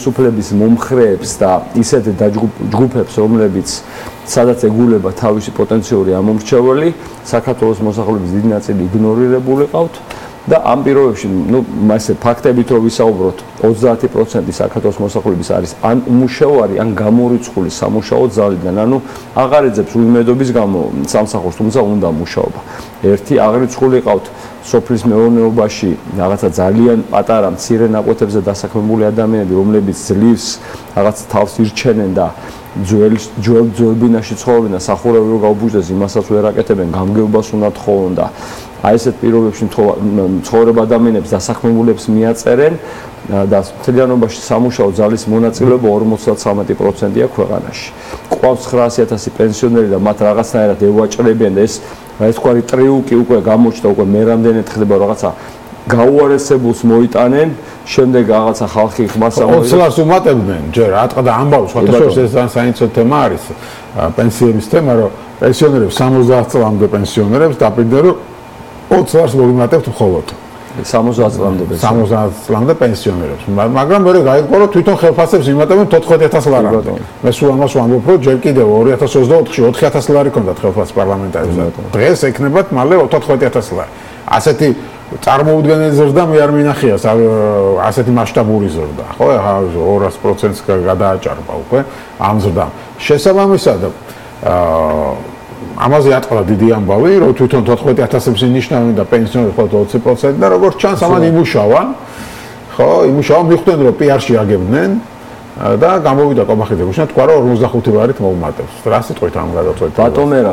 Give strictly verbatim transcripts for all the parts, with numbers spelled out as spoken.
თავისუფლების მომხრეებს და ისეთ ჯგუფებს, რომლებიც სადაც ეგულება თავისი პოტენციური ამომრჩეველი, საქართველოს მოსახლეობის დიდი ნაწილი იგნორირებული ყავთ და ამ პირობებში, ну, მასე ფაქტებით რო ვისაუბროთ, ოცდაათი პროცენტი საქართველოს მოსახლეობის არის ან უმუშევარი, ან გამორიცხული სამუშაო ძალიდან, ანუ აღარ ეძებს უიმედობის გამო სამსახურს, თუმცა უნდა მუშაობა. ერთი აღრიცხული ყავთ სოფლის მეურნეობაში რაღაცა ძალიან პატარა მცირე ნაკვეთებზე დასაქმებული ადამიანები, რომლებიც ძლივს რაღაც თავს ირჩენენ და ძველ ძველ ძვლებინაში ცხოვრობენ და სახურავი რო გაუბუჯდეს, იმასაც ვერ აკეთებენ, გამგეობას უნდა თხოვონ და აი ესეთ პირობებში ცხოვრება ადამიანებს დასაქმებულებს მიაწერენ და მთლიანობაში სამუშაო ძალის მონაწილეობა ორმოცდათვრამეტი პროცენტია ქვეყანაში. ყავს ცხრაასი ათასი პენსიონერი და მათ რაღაცნაირად ევაჭრებიან და ეს ეს თქვა ტრიუკი უკვე გამოჩნდა, უკვე მე რამდენად ხდება რაღაცა გაუარესებულს მოიტანენ, შემდეგ რაღაცა ხალხი ხმას ამოიღებს. ოცდაათს ლარს უმატებდნენ, ჯერ ატყდა ამბავს, ხოთაშორის ეს ძალიან საინტერესო თემა არის, პენსიების თემა, რომ პენსიონერებს სამოცდაათ წლამდე პენსიონერებს დაპირდნენ, რომ ოცდაათს ლარს მოგიმატებთ მხოლოდ. სამოცდაათ წლამდე პენსიონერებს. სამოცდაათ წლამდე პენსიონერებს. მაგრამ მე გაიგო, რომ თვითონ ხელფასებს იმატებენ თოთხმეტ ათას ლარამდე. მე სულ ამას ვამბობ, რომ ჯერ კიდევ ორი ათას ოცდაოთხში ოთხი ათას ლარი ქონდათ ხელფასს პარლამენტარებს. დღეს ექნებათ მალე თოთხმეტ ათას ლარი. ასეთი წარმოუდგენელი ზრდა მე არ მინახია, ასეთი მასშტაბური ზრდა, ხო? ორას პროცენტს გადააჭარბა უკვე ამ ზრდამ. შესაბამისად, აა ამაზე ატყდა დიდი ამბავი, რომ თვითონ თოთხმეტ ათასებს ინიშნავენ და პენსიონერებს მხოლოდ ოცი პროცენტი და როგორც ჩანს, ამან იმუშავან, ხო, იმუშავან, მიხვდნენ, რომ პი-არში აგებდნენ და გამოვიდა კობახიძე გუშინა თქვა, რომ ორმოცდახუთი ლარით მოუმატებს. რა სიტყვით ამ გადაწყვეტილებას? ბატონერა,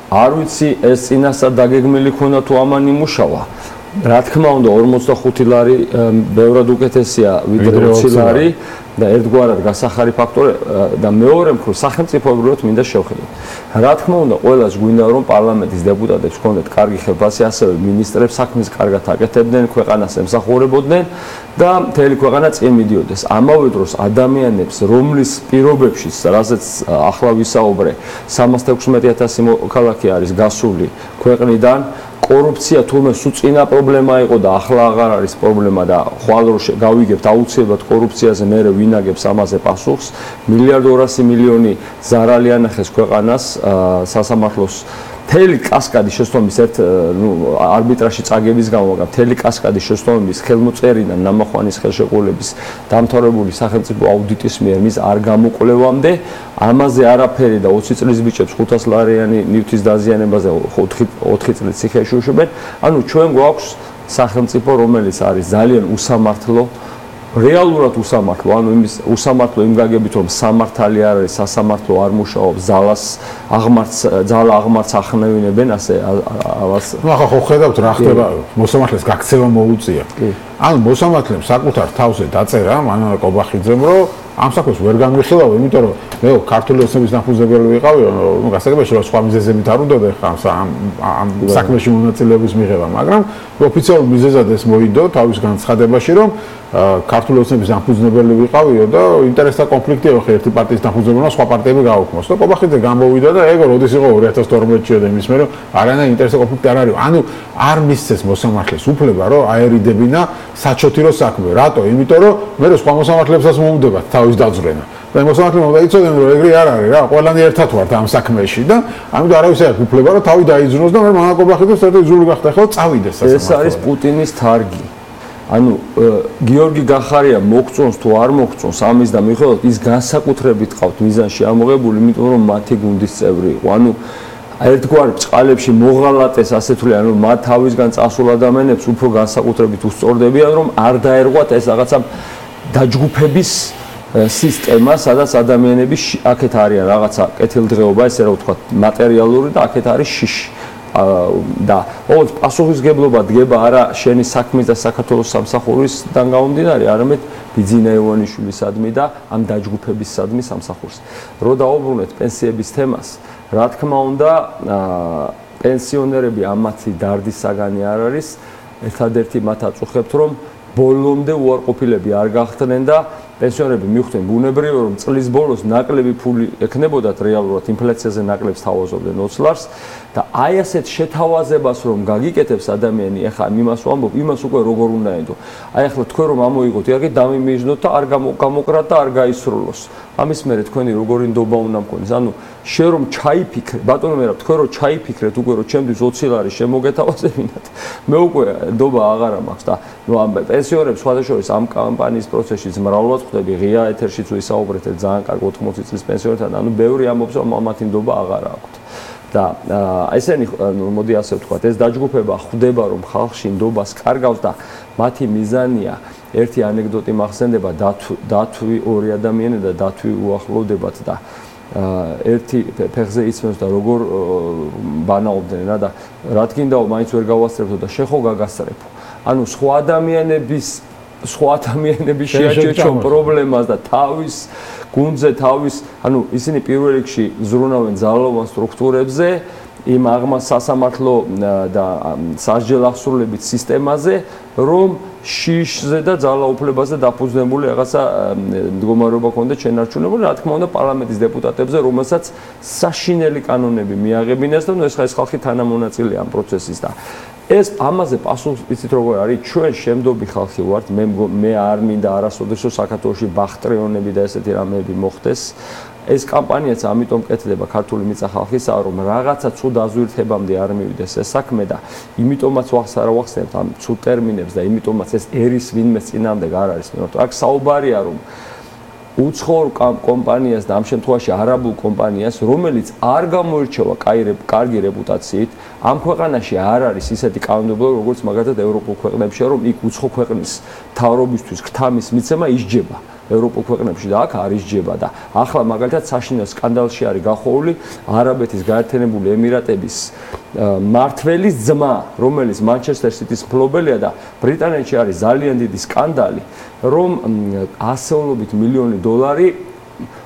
არ ვიცი ეს წინასწარ დაგეგმილი ქონდა თუ ამან იმუშავა. რა თქმა უნდა, ორმოცდახუთი ლარი ბევრად უკეთესია ვიდრე ოცი ლარი და ერთგვარად გასახარი ფაქტორი და მეორე მხრივ სახელმწიფოებრივად მინდა შევხედოთ. რა თქმა უნდა, ყველას გვინდა რომ პარლამენტის დეპუტატებს ჰქონდეთ კარგი ხელფასი, ასევე მინისტრებს საქმეს კარგად აკეთებდნენ, ქვეყანას ემსახურებოდნენ და მთელი ქვეყანა წინ მიდიოდეს. ამავე დროს ადამიანებს, რომლის პირობებშიც, რასაც ახლა ვისაუბრე, სამას თექვსმეტი ათასი მოქალაქე არის გასული ქვეყნიდან, კორუფცია თურმე სულ წინა პრობლემა იყო და ახლა აღარ არის პრობლემა და ხვალ რო გავიგებთ აუცილებლად კორუფციაზე მე ვინაგებს ამაზე პასუხს. მილიარდ ორასი მილიონი ზარალი ანახეს ქვეყანას სასამართლოს მთელი კასკადი შესწომის ერთ ნუ არბიტრაჟში წაგების გამო, მაგრამ მთელი კასკადი შესწომების ხელმოწერიდან ნამახვანის ხელშეკრულების დამთავრებული სახელმწიფო აუდიტის მიერ მის არ გამოკვლევამდე ამაზე არაფერი და ოცი წლის ბიჭებს ხუთას ლარიანი ნივთის დაზიანებაზე ოთხი წლის ციხეში უშვებენ. ანუ ჩვენ გვაქვს სახელმწიფო, რომელიც არის ძალიან უსამართლო, რეალურად უსამართლო, ანუ იმის უსამართლო იმ გაგებით, რომ სამართალი არ არის, სასამართლო არ მუშაობს, ძალას აღმართს, ძალა აღმართს ახნევინებენ, ასე ამას. ნუ ახლა ხო ხედავთ რა ხდება, მოსამართლეს გაქცევა მოუწია. ანუ მოსამართლემ საკუთარ თავზე დაწერა მანალა კობახიძემ, რომ ამ საქმეს ვერ განვიხილავ, იმიტომ რომ მე ქართული ოცნების დამფუძნებელი ვიყავი, ნუ გასაგებია რომ სხვა მიზეზებით არ უნდა ხა ამ ამ საქმეში მონაწილეობის მიღება, მაგრამ ოფიციალურ მიზეზად ეს მოიდო თავის განცხადებაში, რომ ქართული ოცნების დამფუძნებელი ვიყავიო და ინტერესთა კონფლიქტი იყო ერთი პარტიის დამფუძნებელმა სხვა პარტიები გააუქმოს. და კობახიძე გამოვიდა და ეგ როდის იყო ორი ათას თორმეტში და იმის მერე არანაირი ინტერესთა კონფლიქტი არ არის. ანუ არ მისცეს მოსამართლეს უფლება, რომ აერიდებინა საჩოთირო საქმე. რატო? იმიტომ რომ მე სხვა მოსამართლებსაც მოუნდებათ თავის დაძვრენა. და მოსამართლემ უნდა იცოდნენ, რომ ეგრე არ არის რა, ყველანი ერთად ვართ ამ საქმეში და ამიტომ არავის არ აქვს უფლება, რომ თავი დაიძრნოს და მე მან კობახიძეს ერთ ზური გახდა ხო წავიდეს სასამართლო. ეს არის პუტინის თარგი. ანუ გიორგი გახარია მოგწონს თუ არ მოგწონს ამის და მიხედავთ ის განსაკუთრებით ყავთ მიზანში ამოღებული, იმიტომ რომ მათი გუნდის წევრი იყო. ანუ ერთგვარ ბჭყალებში მოღალატეს ასე თვლი, ანუ მათ თავისგან წასულ ადამიანებს უფრო განსაკუთრებით უსწორდებიან, რომ არ დაერღვათ ეს რაღაცა დაჯგუფების სისტემა, სადაც ადამიანები აქეთ არიან რაღაცა კეთილდღეობა, ესე რა ვთქვათ, მატერიალური და აქეთ არის შიში. და ოღონდ პასუხისგებლობა დგება არა შენი საქმის და საქართველოს სამსახურისგან გამომდინარე, არამედ ბიძინა ივანიშვილისადმი და ამ დაჯგუფებისადმი სამსახურს. რო დაუბრუნეთ პენსიების თემას, რა თქმა უნდა, პენსიონერები ამათი დარდის საგანი არ არის. ერთადერთი მათ აწუხებთ, რომ ბოლომდე უარყოფილები არ გახდნენ და პენსიონერები მიხვდნენ ბუნებრივია რომ წლის ბოლოს ნაკლები ფული ექნებოდათ რეალურად ინფლაციაზე ნაკლებს თავაზობდნენ ოცი ლარს და აი ასეთ შეთავაზებას რომ გაგიკეთებს ადამიანი ახლა იმას ვამბობ იმას უკვე როგორ უნდა ენდო აი ახლა თქვენ რომ ამოიღოთ იარაღი დამიმიჯნოთ და არ გამოკრათ და არ გაისრულოს ამის მერე თქვენი როგორი ნდობა უნდა მქონდეს ანუ შენ რომ ჩაიფიქრე ბატონო მერაბ თქვენ რომ ჩაიფიქრეთ უკვე რომ ჩემთვის ოცი ლარი შემოგეთავაზებინათ მე უკვე ნდობა აღარა მაქვს და ნუ ამ პენსიონერებს სხვადასხვა ამ კამპანიის პროცესშიც მრავლად ხვდები ღია ეთერშიც ვისაუბრეთ ძალიან კარგი ოთხმოცი წლის პენსიონერთან ანუ ბევრი ამბობს რომ მათი ნდობა აღარა აქვთ და ესენი მოდი ასე ვთქვათ ეს დაჯგუფება ხვდება რომ ხალხში ნდობას კარგავს და მათი მიზანია ერთი ანეკდოტი მახსენდება დათვი ორი ადამიანი და დათვი უახლოვდებათ და ერთი ფეხზე იცმევს და როგორ ბანაობდნენ რა და რა თქინდაო მაინც ვერ გავასწრებთო და შეხო გაგასწრებო ანუ სხვა ადამიანების სხვა ადამიანების შეაჩერჩო პრობლემას და თავის გუნდზე თავის ანუ ისინი პირველ რიგში ზრუნავენ ძალოვან სტრუქტურებზე იმ აღმა სასამართლო და სასჯელ აღსრულებით სისტემაზე რომ შიშზე და ძალაუფლებაზე დაფუძნებული რაღაცა მდგომარეობა ქონდა შენარჩუნებული რა თქმა უნდა პარლამენტის დეპუტატებზე რომელსაც საშინელი კანონები მიაღებინეს და ნუ ეს ხა ეს ხალხი თანამონაწილეა ამ პროცესის და ეს ამაზე პასუხს იცით როგორ არის ჩვენ შემდობი ხალხი ვართ მე მე არ მინდა არასოდეს რომ საქართველოში ბახტრიონები და ესეთი რამეები მოხდეს ეს კამპანიაც ამიტომ კეთდება ქართული მიწა ხალხისა რომ რაღაცა ცუდ აზვირთებამდე არ მივიდეს ეს საქმე და იმიტომაც ვახსარა ვახსენებთ ამ ცუდ ტერმინებს და იმიტომაც ეს ერის ვინმე წინამდე არ არის მე აქ საუბარია რომ უცხოურ კომპანიას და ამ შემთხვევაში არაბულ კომპანიას რომელიც არ გამოირჩევა კარგი რეპუტაციით ამ ქვეყანაში არ არის ისეთი კანონმდებლობა როგორც მაგალითად ევროპულ ქვეყნებში რომ იქ უცხო ქვეყნის მთავრობისთვის ქთამის მიცემა ისჯება ევროპულ ქვეყნებში და აქ არ ისჯება და ახლა მაგალითად საშინელ სკანდალში არის გახოვული არაბეთის გაერთიანებული ემირატების მმართველის ძმა რომელიც მანჩესტერ სიტის მფლობელია და ბრიტანეთში არის ძალიან დიდი სკანდალი რომ ასეულობით მილიონი დოლარი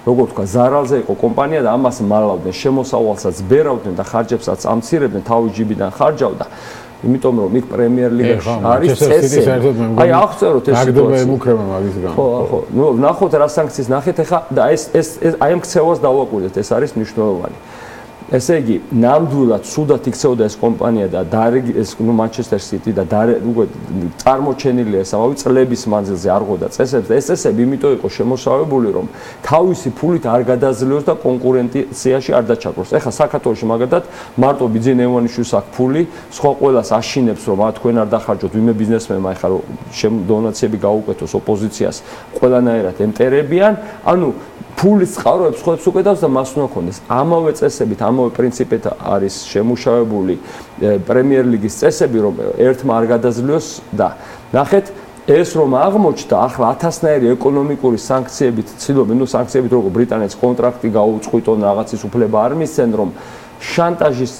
როგორ თქვა ზარალზე იყო კომპანია და ამას მალავდნენ შემოსავალსაც ბერავდნენ და ხარჯებსაც ამცირებდნენ თავის ჯიბიდან ხარჯავდა იმიტომ რომ იქ პრემიერ ლიგაში არის წესი აი აღწეროთ ეს სიტუაცია ემუქრება მაგის გამო ხო ხო ნუ ნახოთ რა სანქციის ნახეთ ახლა და ეს ეს აი ამ ქცევას დავაკვირდეთ ეს არის მნიშვნელოვანი ესე იგი ნამდვილად სუდად იქცეოდა ეს კომპანია და ეს ნუ მანჩესტერ სიტი და უკვე წარმოჩენილია ეს ამავე წლების მანძილზე არღოდა წესებს და ეს წესები იმიტომ იყო შემოსავებული რომ თავისი ფულით არ გადაძლევოს და კონკურენციაში არ დაჩაგროს. ეხლა საქართველოში მაგალითად მარტო ბიძინა ევანიშვილს აქვს ფული, სხვა ყველას აშინებს რომ ა თქვენ არ დახარჯოთ ვინმე ბიზნესმენმა ეხლა რომ დონაციები გაუკეთოს ოპოზიციას ყველანაირად ემტერებიან, ანუ ფულის წყაროებს ხოებს უკეთავს და მას უნდა ქონდეს. ამავე წესებით, ამავე პრინციპით არის შემუშავებული პრემიერ ლიგის წესები, რომ ერთმა არ გადაძლევოს და ნახეთ ეს რომ აღმოჩნდა ახლა ათასნაირი ეკონომიკური სანქციებით ცდილობენ, ნუ სანქციებით როგორ ბრიტანეთს კონტრაქტი გაუწყვიტონ, რაღაცის უფლება არ მისცენ, რომ შანტაჟის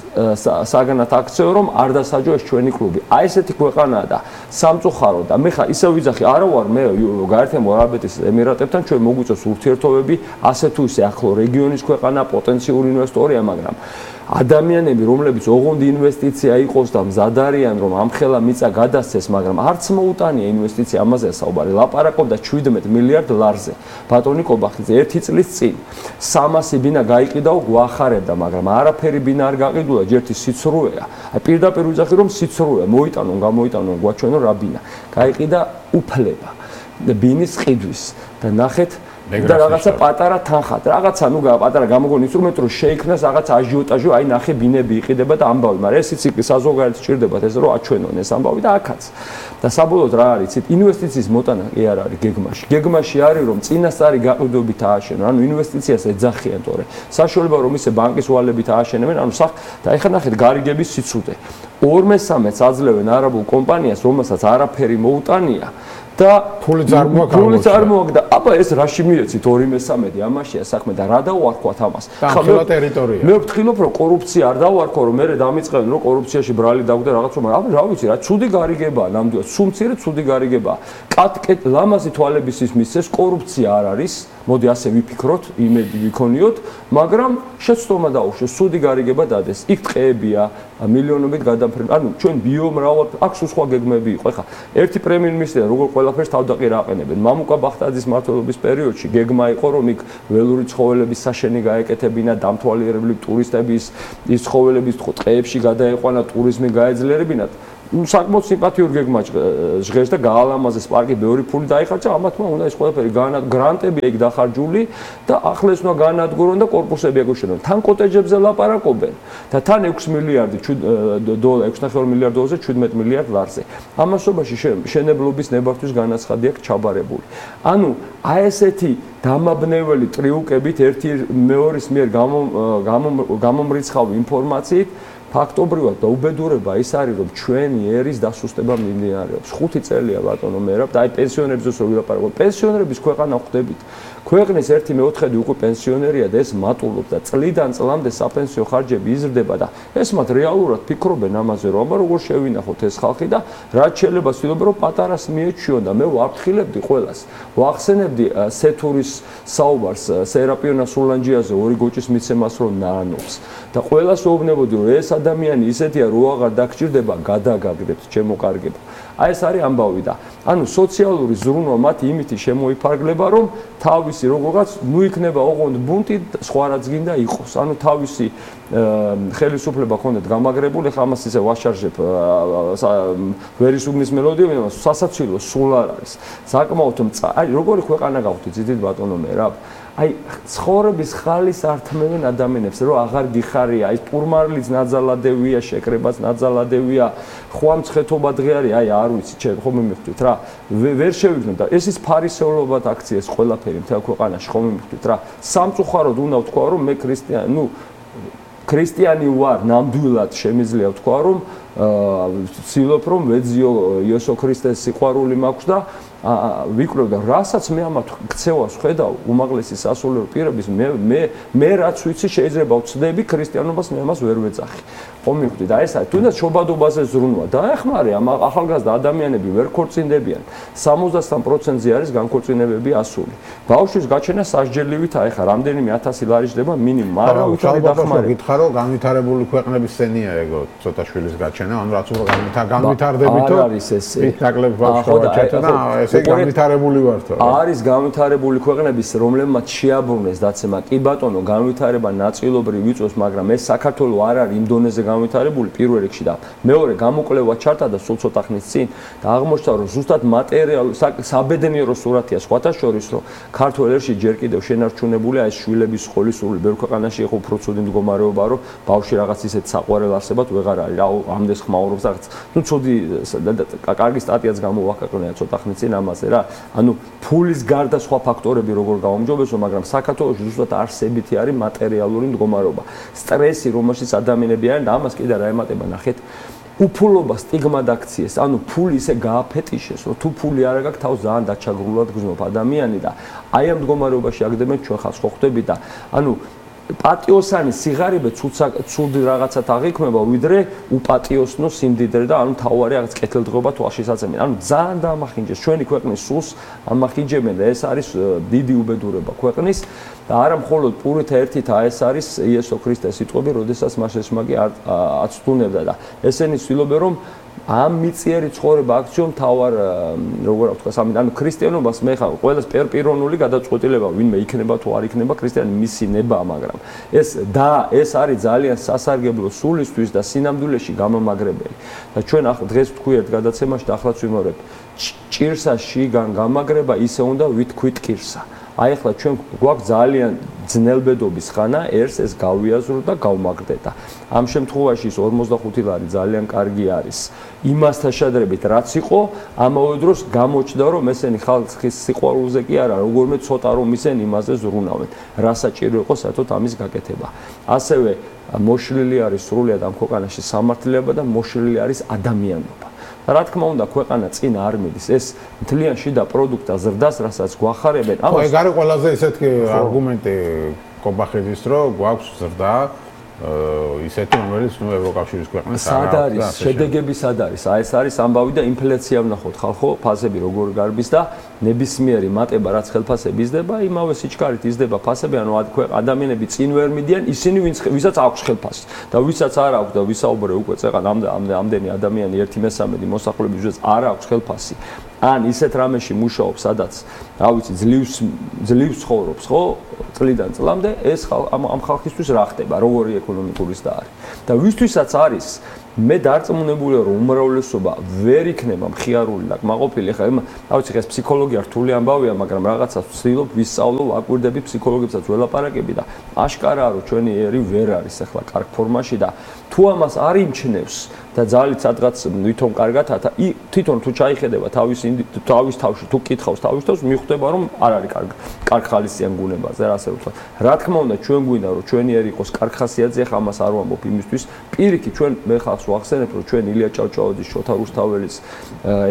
საგანად აქცევ რომ არ დასაჯო ეს ჩვენი კლუბი. აი ესეთი ქვეყანაა და სამწუხარო და მე ხა ისე ვიძახი, არა ვარ მე გაერთიანებულ არაბეთის ემირატებთან ჩვენ მოგვიწევს ურთიერთობები, ასე თუ ისე ახლო რეგიონის ქვეყანა, პოტენციური ინვესტორია, მაგრამ ადამიანები, რომლებიც ოღონდ ინვესტიცია იყოს და მზად არიან რომ ამხელა მიწა გადასცეს, მაგრამ არც მოუტანია ინვესტიცია, ამაზეა საუბარი. ლაპარაკობდა შვიდმეტ მილიარდ ლარზე. ბატონი კობახიძე ერთი წლის წინ სამასი ბინა გაიყიდაო, გვახარებდა, მაგრამ არაფერი ბინა არ გაყიდულა, ჯერთი სიცრუეა. აი პირდაპირ ვიძახი რომ სიცრუეა, მოიტანონ, გამოიტანონ, გვაჩვენონ რა ბინა. გაიყიდა უფლება ბინის ყიდვის და ნახეთ და რაღაცა პატარა თანხა, რაღაცა ნუ პატარა გამოგონი ინსტრუმენტი რომ შეიქმნას რაღაც აჟიოტაჟი, აი ნახე ბინები იყიდება და ამბავი, მაგრამ ეს იცი საზოგადოებრივ სჭირდებათ ეს რომ აჩვენონ ეს ამბავი და აქაც. და საბოლოოდ რა არის, იცით, ინვესტიციის მოტანა კი არ არის გეგმაში. გეგმაში არის რომ წინასწარი გაყიდვებით ააშენონ, ანუ ინვესტიციას ეძახიან, თორე საშუალება რომ ისე ბანკის ვალებით ააშენებენ, ანუ სახ და ეხლა ნახეთ გარიგების სიცრუე. ორ მესამედს აძლევენ არაბულ კომპანიას, რომელსაც არაფერი მოუტანია. და ფული წარმოაქვს ფული წარმოაქვს და აბა ეს რაში მიეცით ორი მესამედი ამაშია საქმე და რა დავარქვათ ამას ხა ტერიტორია მე ვთქილობ რომ კორუფცია არ დავარქვა რომ მე დამიწყებენ რომ კორუფციაში ბრალი დაგვდა რაღაც რომ აბა რა ვიცი რა ცუდი გარიგებაა ნამდვილად სუმცირე ცუდი გარიგებაა კატკეტ ლამაზი თვალებისთვის მისცეს კორუფცია არ არის მოდი ასე ვიფიქროთ იმედი ვიქონიოთ მაგრამ შეცდომა დაუშვეს ცუდი გარიგება დადეს იქ ტყეებია მილიონობით გადამფრენ ანუ ჩვენ ბიომრავალ აქვს სხვა გეგმები იყო ხა ერთი პრემიერ მინისტრია როგორ ყველაფერს თავდაყირა აყენებენ. მამუკა ბახტაძის მმართველობის პერიოდში გეგმა იყო, რომ იქ ველური ცხოველების საშენი გაეკეთებინა, დამთვალიერებლი ტურისტების ის ცხოველების ტყეებში გადაეყვანა, ტურიზმი გაეძლიერებინათ. საკმაოდ სიმპათიურ გეგმა ჟღერს და გაალამაზეს პარკი, ბევრი ფული დაიხარჯა, ამათმა უნდა ეს ყველაფერი გრანტები ეგ დახარჯული და ახლა ეს უნდა განადგურონ და კორპუსები ეკუშენონ. თან კოტეჯებზე ლაპარაკობენ და თან ექვსი მილიარდი დოლარი, ექვსი ნახევარი მილიარდ დოლარზე შვიდმეტ მილიარდ ლარზე. ამასობაში შენებლობის ნებართვის განაცხადი აქვს ჩაბარებული. ანუ აი ესეთი დამაბნეველი ტრიუკებით ერთი მეორის მიერ გამომრიცხავი ინფორმაციით ფაქტობრივად და უბედურება ის არის, რომ ჩვენი ერის დასუსტება მიმდინარეობს. ხუთი წელია ბატონო მერაბ და აი პენსიონერებზეც რო ვილაპარაკო, პენსიონერების ქვეყანა ხვდებით. ქვეყნის ერთი მეოთხედი უკვე პენსიონერია და ეს მატულობს და წლიდან წლამდე საპენსიო ხარჯები იზრდება და ეს მათ რეალურად ფიქრობენ ამაზე, რომ აბა როგორ შევინახოთ ეს ხალხი და რაც შეიძლება ვცდილობ რომ პატარას მიეჩვიონ და მე ვაფრთხილებდი ყველას. ვახსენებდი სეთურის საუბარს სერაპიონა სულანჯიაზე ორი გოჭის მიცემას რომ ნაანობს და ყველას ვეუბნებოდი რომ ეს ადამიანი ისეთია რო აღარ დაგჭირდება გადაგაგდებთ ჩემო კარგებო. აი ეს არის ამბავი და ანუ სოციალური ზრუნვა მათ იმითი შემოიფარგლება რომ თავისი როგორღაც ნუ იქნება ოღონდ ბუნტი სხვა რაც გინდა იყოს. ანუ თავისი ხელისუფლება ქონდეთ გამაგრებული, ხა ამას ისე ვაშარჟებ ვერისუბნის მელოდია, მაგრამ სასაცილო სულ არ არის. საკმაოდ აი როგორი ქვეყანა გავხდით ძიდით ბატონო მერაბ. აი ცხოვრების ხალის ართმევენ ადამიანებს რომ აღარ გიხარია აი პურმარლიც ნაძალადევია შეკრებაც ნაძალადევია ხვამცხეთობა დღე არის აი არ ვიცი ჩემ ხომ მივხვდით რა ვერ შევიგნო და ეს ის ფარისეულობად აქცია ეს ყველაფერი მთელ ქვეყანაში ხომ მივხვდით რა სამწუხაროდ უნდა ვთქვა რომ მე ქრისტიანი ნუ ქრისტიანი ვარ ნამდვილად შემიძლია ვთქვა რომ ვცდილობ რომ ვეძიო იესო ქრისტეს სიყვარული მაქვს და ვიკვლევ და რასაც მე ამათ ქცევას ხედავ უმაღლესი სასულიერო პირების მე მე მე რაც ვიცი შეიძლება ვწდები ქრისტიანობას მე ამას ვერ ვეძახი ხომ მივხვდი და ეს არის თუნდაც შობადობაზე ზრუნვა დაეხმარე ამ ახალგაზრდა ადამიანები ვერ ქორწინდებიან სამოცდასამ პროცენტზე არის განქორწინებები ასული ბავშვის გაჩენა სასჯელივით აი ხა რამდენიმე ათასი ლარი ჯდება მინიმუმ არა უჩვენე დახმარე გითხარ რომ განვითარებული ქვეყნების სცენია ეგო ცოტა შვილის გაჩენა ანუ რაც უფრო განვითარდებითო არ არის ეს ნაკლებ ბავშვი გაჩენა ესე განვითარებული ვართო არის განვითარებული ქვეყნების რომლებმაც შეაბრუნეს დაცემა კი ბატონო განვითარება ნაწილობრივ იწვევს მაგრამ ეს საქართველოს არ არის იმ დონეზე განვითარებული პირველ რიგში და მეორე გამოკვლევა ჩართა და სულ ცოტა ხნის წინ და აღმოჩნდა რომ ზუსტად მატერიალური საბედნიერო სურათია სხვათა შორის რომ ქართულ ერში ჯერ კიდევ შენარჩუნებულია ეს შვილების სკოლის სრული ბევრ ქვეყანაში იყო უფრო ცუდი მდგომარეობა რომ ბავშვი რაღაც ისეთ საყვარელ არსებად ვეღარ არის რა ამდენს ხმაურობს რაღაც ნუ ცუდი კარგი სტატიაც გამოვაკაკრნია ცოტა ხნის წინ ამაზე რა ანუ ფულის გარდა სხვა ფაქტორები როგორ გაუმჯობესო მაგრამ საქართველოს ზუსტად არსებითი არის მატერიალური მდგომარეობა სტრესი რომელშიც ადამიანები არიან და ამას კიდე რა ემატება ნახეთ უფულობა სტიგმა დაქციეს ანუ ფული ისე გააფეტიშეს რომ თუ ფული არ აქვს თავს ძალიან დაჩაგრულად გზნობ ადამიანი და აი ამ მდგომარეობაში აგდებენ ჩვენ ხალხს ხო ხვდებით და ანუ პატიოსანი სიღარიბე ცუდი რაღაცად აღიქმება ვიდრე უპატიოსნო სიმდიდრე და ანუ თავარი რაღაც კეთილდღეობა თვალშიც აწემენ. ანუ ძალიან დაამახინჯეს ჩვენი ქვეყნის სულს ამახინჯებენ და ეს არის დიდი უბედურება ქვეყნის და არა მხოლოდ პურითა ერთითა ეს არის იესო ქრისტეს სიტყვები, როდესაც მას ეს მაგი აცდუნებდა და ესენი ცდილობენ რომ ამ მიწიერი ცხოვრება აქციო მთავარ როგორ ვთქვა სამი ანუ ქრისტიანობას მე ხა ყველას პერპირონული გადაწყვეტილება ვინმე იქნება თუ არ იქნება ქრისტიანი მისი ნება მაგრამ ეს და ეს არის ძალიან სასარგებლო სულისთვის და სინამდვილეში გამამაგრებელი და ჩვენ ახლა დღეს ვთქვი ერთ გადაცემაში და ახლაც ვიმეორებ ჭირსა შიგან გამაგრება ისე უნდა ვითქვით კირსა აი ახლა ჩვენ გვაქვს ძალიან ძნელბედობის ხანა ერს ეს გავიაზრო და გავმაგდე და ამ შემთხვევაში ის ორმოცდახუთი ლარი ძალიან კარგი არის იმასთან შედარებით რაც იყო ამავე დროს გამოჩნდა რომ ესენი ხალხის სიყვარულზე კი არა როგორმე ცოტა რომ ისინი იმაზე ზრუნავენ რა საჭირო იყო საერთოდ ამის გაკეთება ასევე მოშლილი არის სრულიად ამ ქვეყანაში სამართლიანობა და მოშლილი არის ადამიანობა რა თქმა უნდა ქვეყანა წინ არ მიდის ეს მთლიან შიდა პროდუქტა ზრდას რასაც გვახარებენ ამას ეგ არის ყველაზე ესეთი არგუმენტი კობახიძის რომ გვაქვს ზრდა ისეთი რომელიც ნუ ევროკავშირის ქვეყნებს სად არის შედეგები სად არის აი ეს არის ამბავი და ინფლაცია ვნახოთ ხალხო ფასები როგორ გარბის და ნებისმიერი მატება რაც ხელფასები იზრდება იმავე სიჩქარით იზრდება ფასები ანუ ადამიანები წინ ვერ მიდიან ისინი ვისაც აქვს ხელფასი და ვისაც არ აქვს და ვისაუბრე უკვე წეღან ამდენი ადამიანი ერთი მესამედი მოსახლეობის ვისაც არ აქვს ხელფასი ან ისეთ რამეში მუშაობს სადაც რა ვიცი ძლივს ძლივს ცხოვრობს ხო წლიდან წლამდე ეს ამ ამ ხალხისთვის რა ხდება როგორი ეკონომიკური და არის და ვისთვისაც არის მე დარწმუნებულია რომ უმრავლესობა ვერ იქნება მხიარული და კმაყოფილი ხა რა ვიცი ეს ფსიქოლოგია რთული ამბავია მაგრამ რაღაცას ვცდილობ ვისწავლო ვაკვირდები ფსიქოლოგებსაც ველაპარაკები და აშკარაა რომ ჩვენი ერი ვერ არის ახლა კარგ ფორმაში და თუ ამას არ იმჩნევს და ძალით სადღაც ვითომ კარგად თვითონ თუ ჩაიხედება თავის თავის თავში თუ კითხავს თავის თავს მიხვდება რომ არ არის კარგ კარგ ხალისიან გუნებაზე რა ასე ვთქვა რა თქმა უნდა ჩვენ გვინდა რომ ჩვენი ერი იყოს კარგ ხასიათზე ხა ამას არ ვამბობ იმისთვის პირიქით ჩვენ მე ხალხს ვახსენებ რომ ჩვენ ილია ჭავჭავაძის შოთა რუსთაველის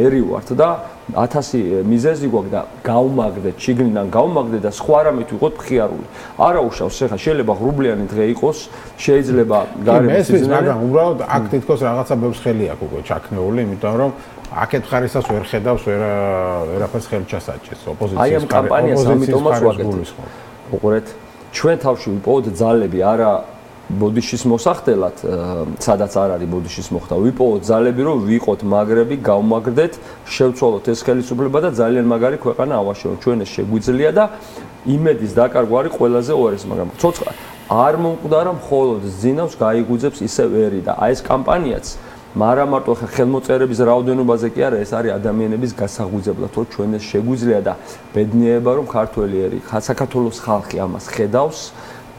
ერი ვართ და ათასი მიზეზი გვაქვს და გავმაგდეთ შიგნიდან გავმაგდეთ და სხვა რამით ვიყოთ მხიარული არა უშავს ხა შეიძლება ღრუბლიანი დღე იყოს შეიძლება გარემოს სიზნე მაგრამ უბრალოდ აქ თითქოს რაღაცა ბევრს ხელი აქვს უკვე ჩაქნეული იმიტომ რომ აქეთ ხარისას ვერ ხედავს ვერ ვერაფერს ხელი ჩასაჭეს ოპოზიციის აი ამ კამპანიას ამიტომაც ვაკეთებ უყურეთ ჩვენ თავში ვიპოვოთ ძალები არა ბოდიშის მოსახდელად სადაც არ არის ბოდიშის მოხდა ვიპოვოთ ძალები რომ ვიყოთ მაგრები გავმაგდეთ შევცვალოთ ეს ხელისუფლება და ძალიან მაგარი ქვეყანა ავაშენოთ ჩვენ ეს შეგვიძლია და იმედის დაკარგვა არის ყველაზე უარესი მაგრამ ცოცხლა არ მომკვდარა მხოლოდ ზინავს გაიგუძებს ისევ ერი და აი ეს კამპანიაც მაგრამ მარტო ხელმოწერების რაოდენობაზე კი არა ეს არის ადამიანების გასაღვიძებლად რომ ჩვენ ეს შეგვიძლია და ბედნიერება რომ ქართველი ერი საქართველოს ხალხი ამას ხედავს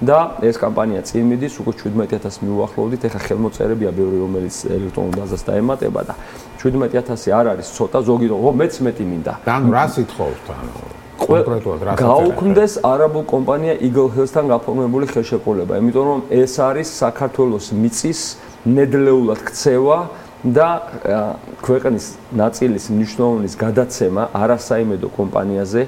და ეს კამპანია წინ მიდის უკვე შვიდმეტი ათასი მიუახლოვდით ეხა ხელმოწერებია ბევრი რომელიც ელექტრონულ ბაზას დაემატება და შვიდმეტი ათასი არ არის ცოტა ზოგი რომ მეც მეტი მინდა და ანუ რა სიტყვავთ ანუ კონკრეტულად რა გაუქმდეს არაბულ კომპანია Eagle Health-თან გაფორმებული ხელშეკრულება იმიტომ რომ ეს არის საქართველოს მიწის ნედლეულად ქცევა და ქვეყნის ნაწილის მნიშვნელობის გადაცემა არასაიმედო კომპანიაზე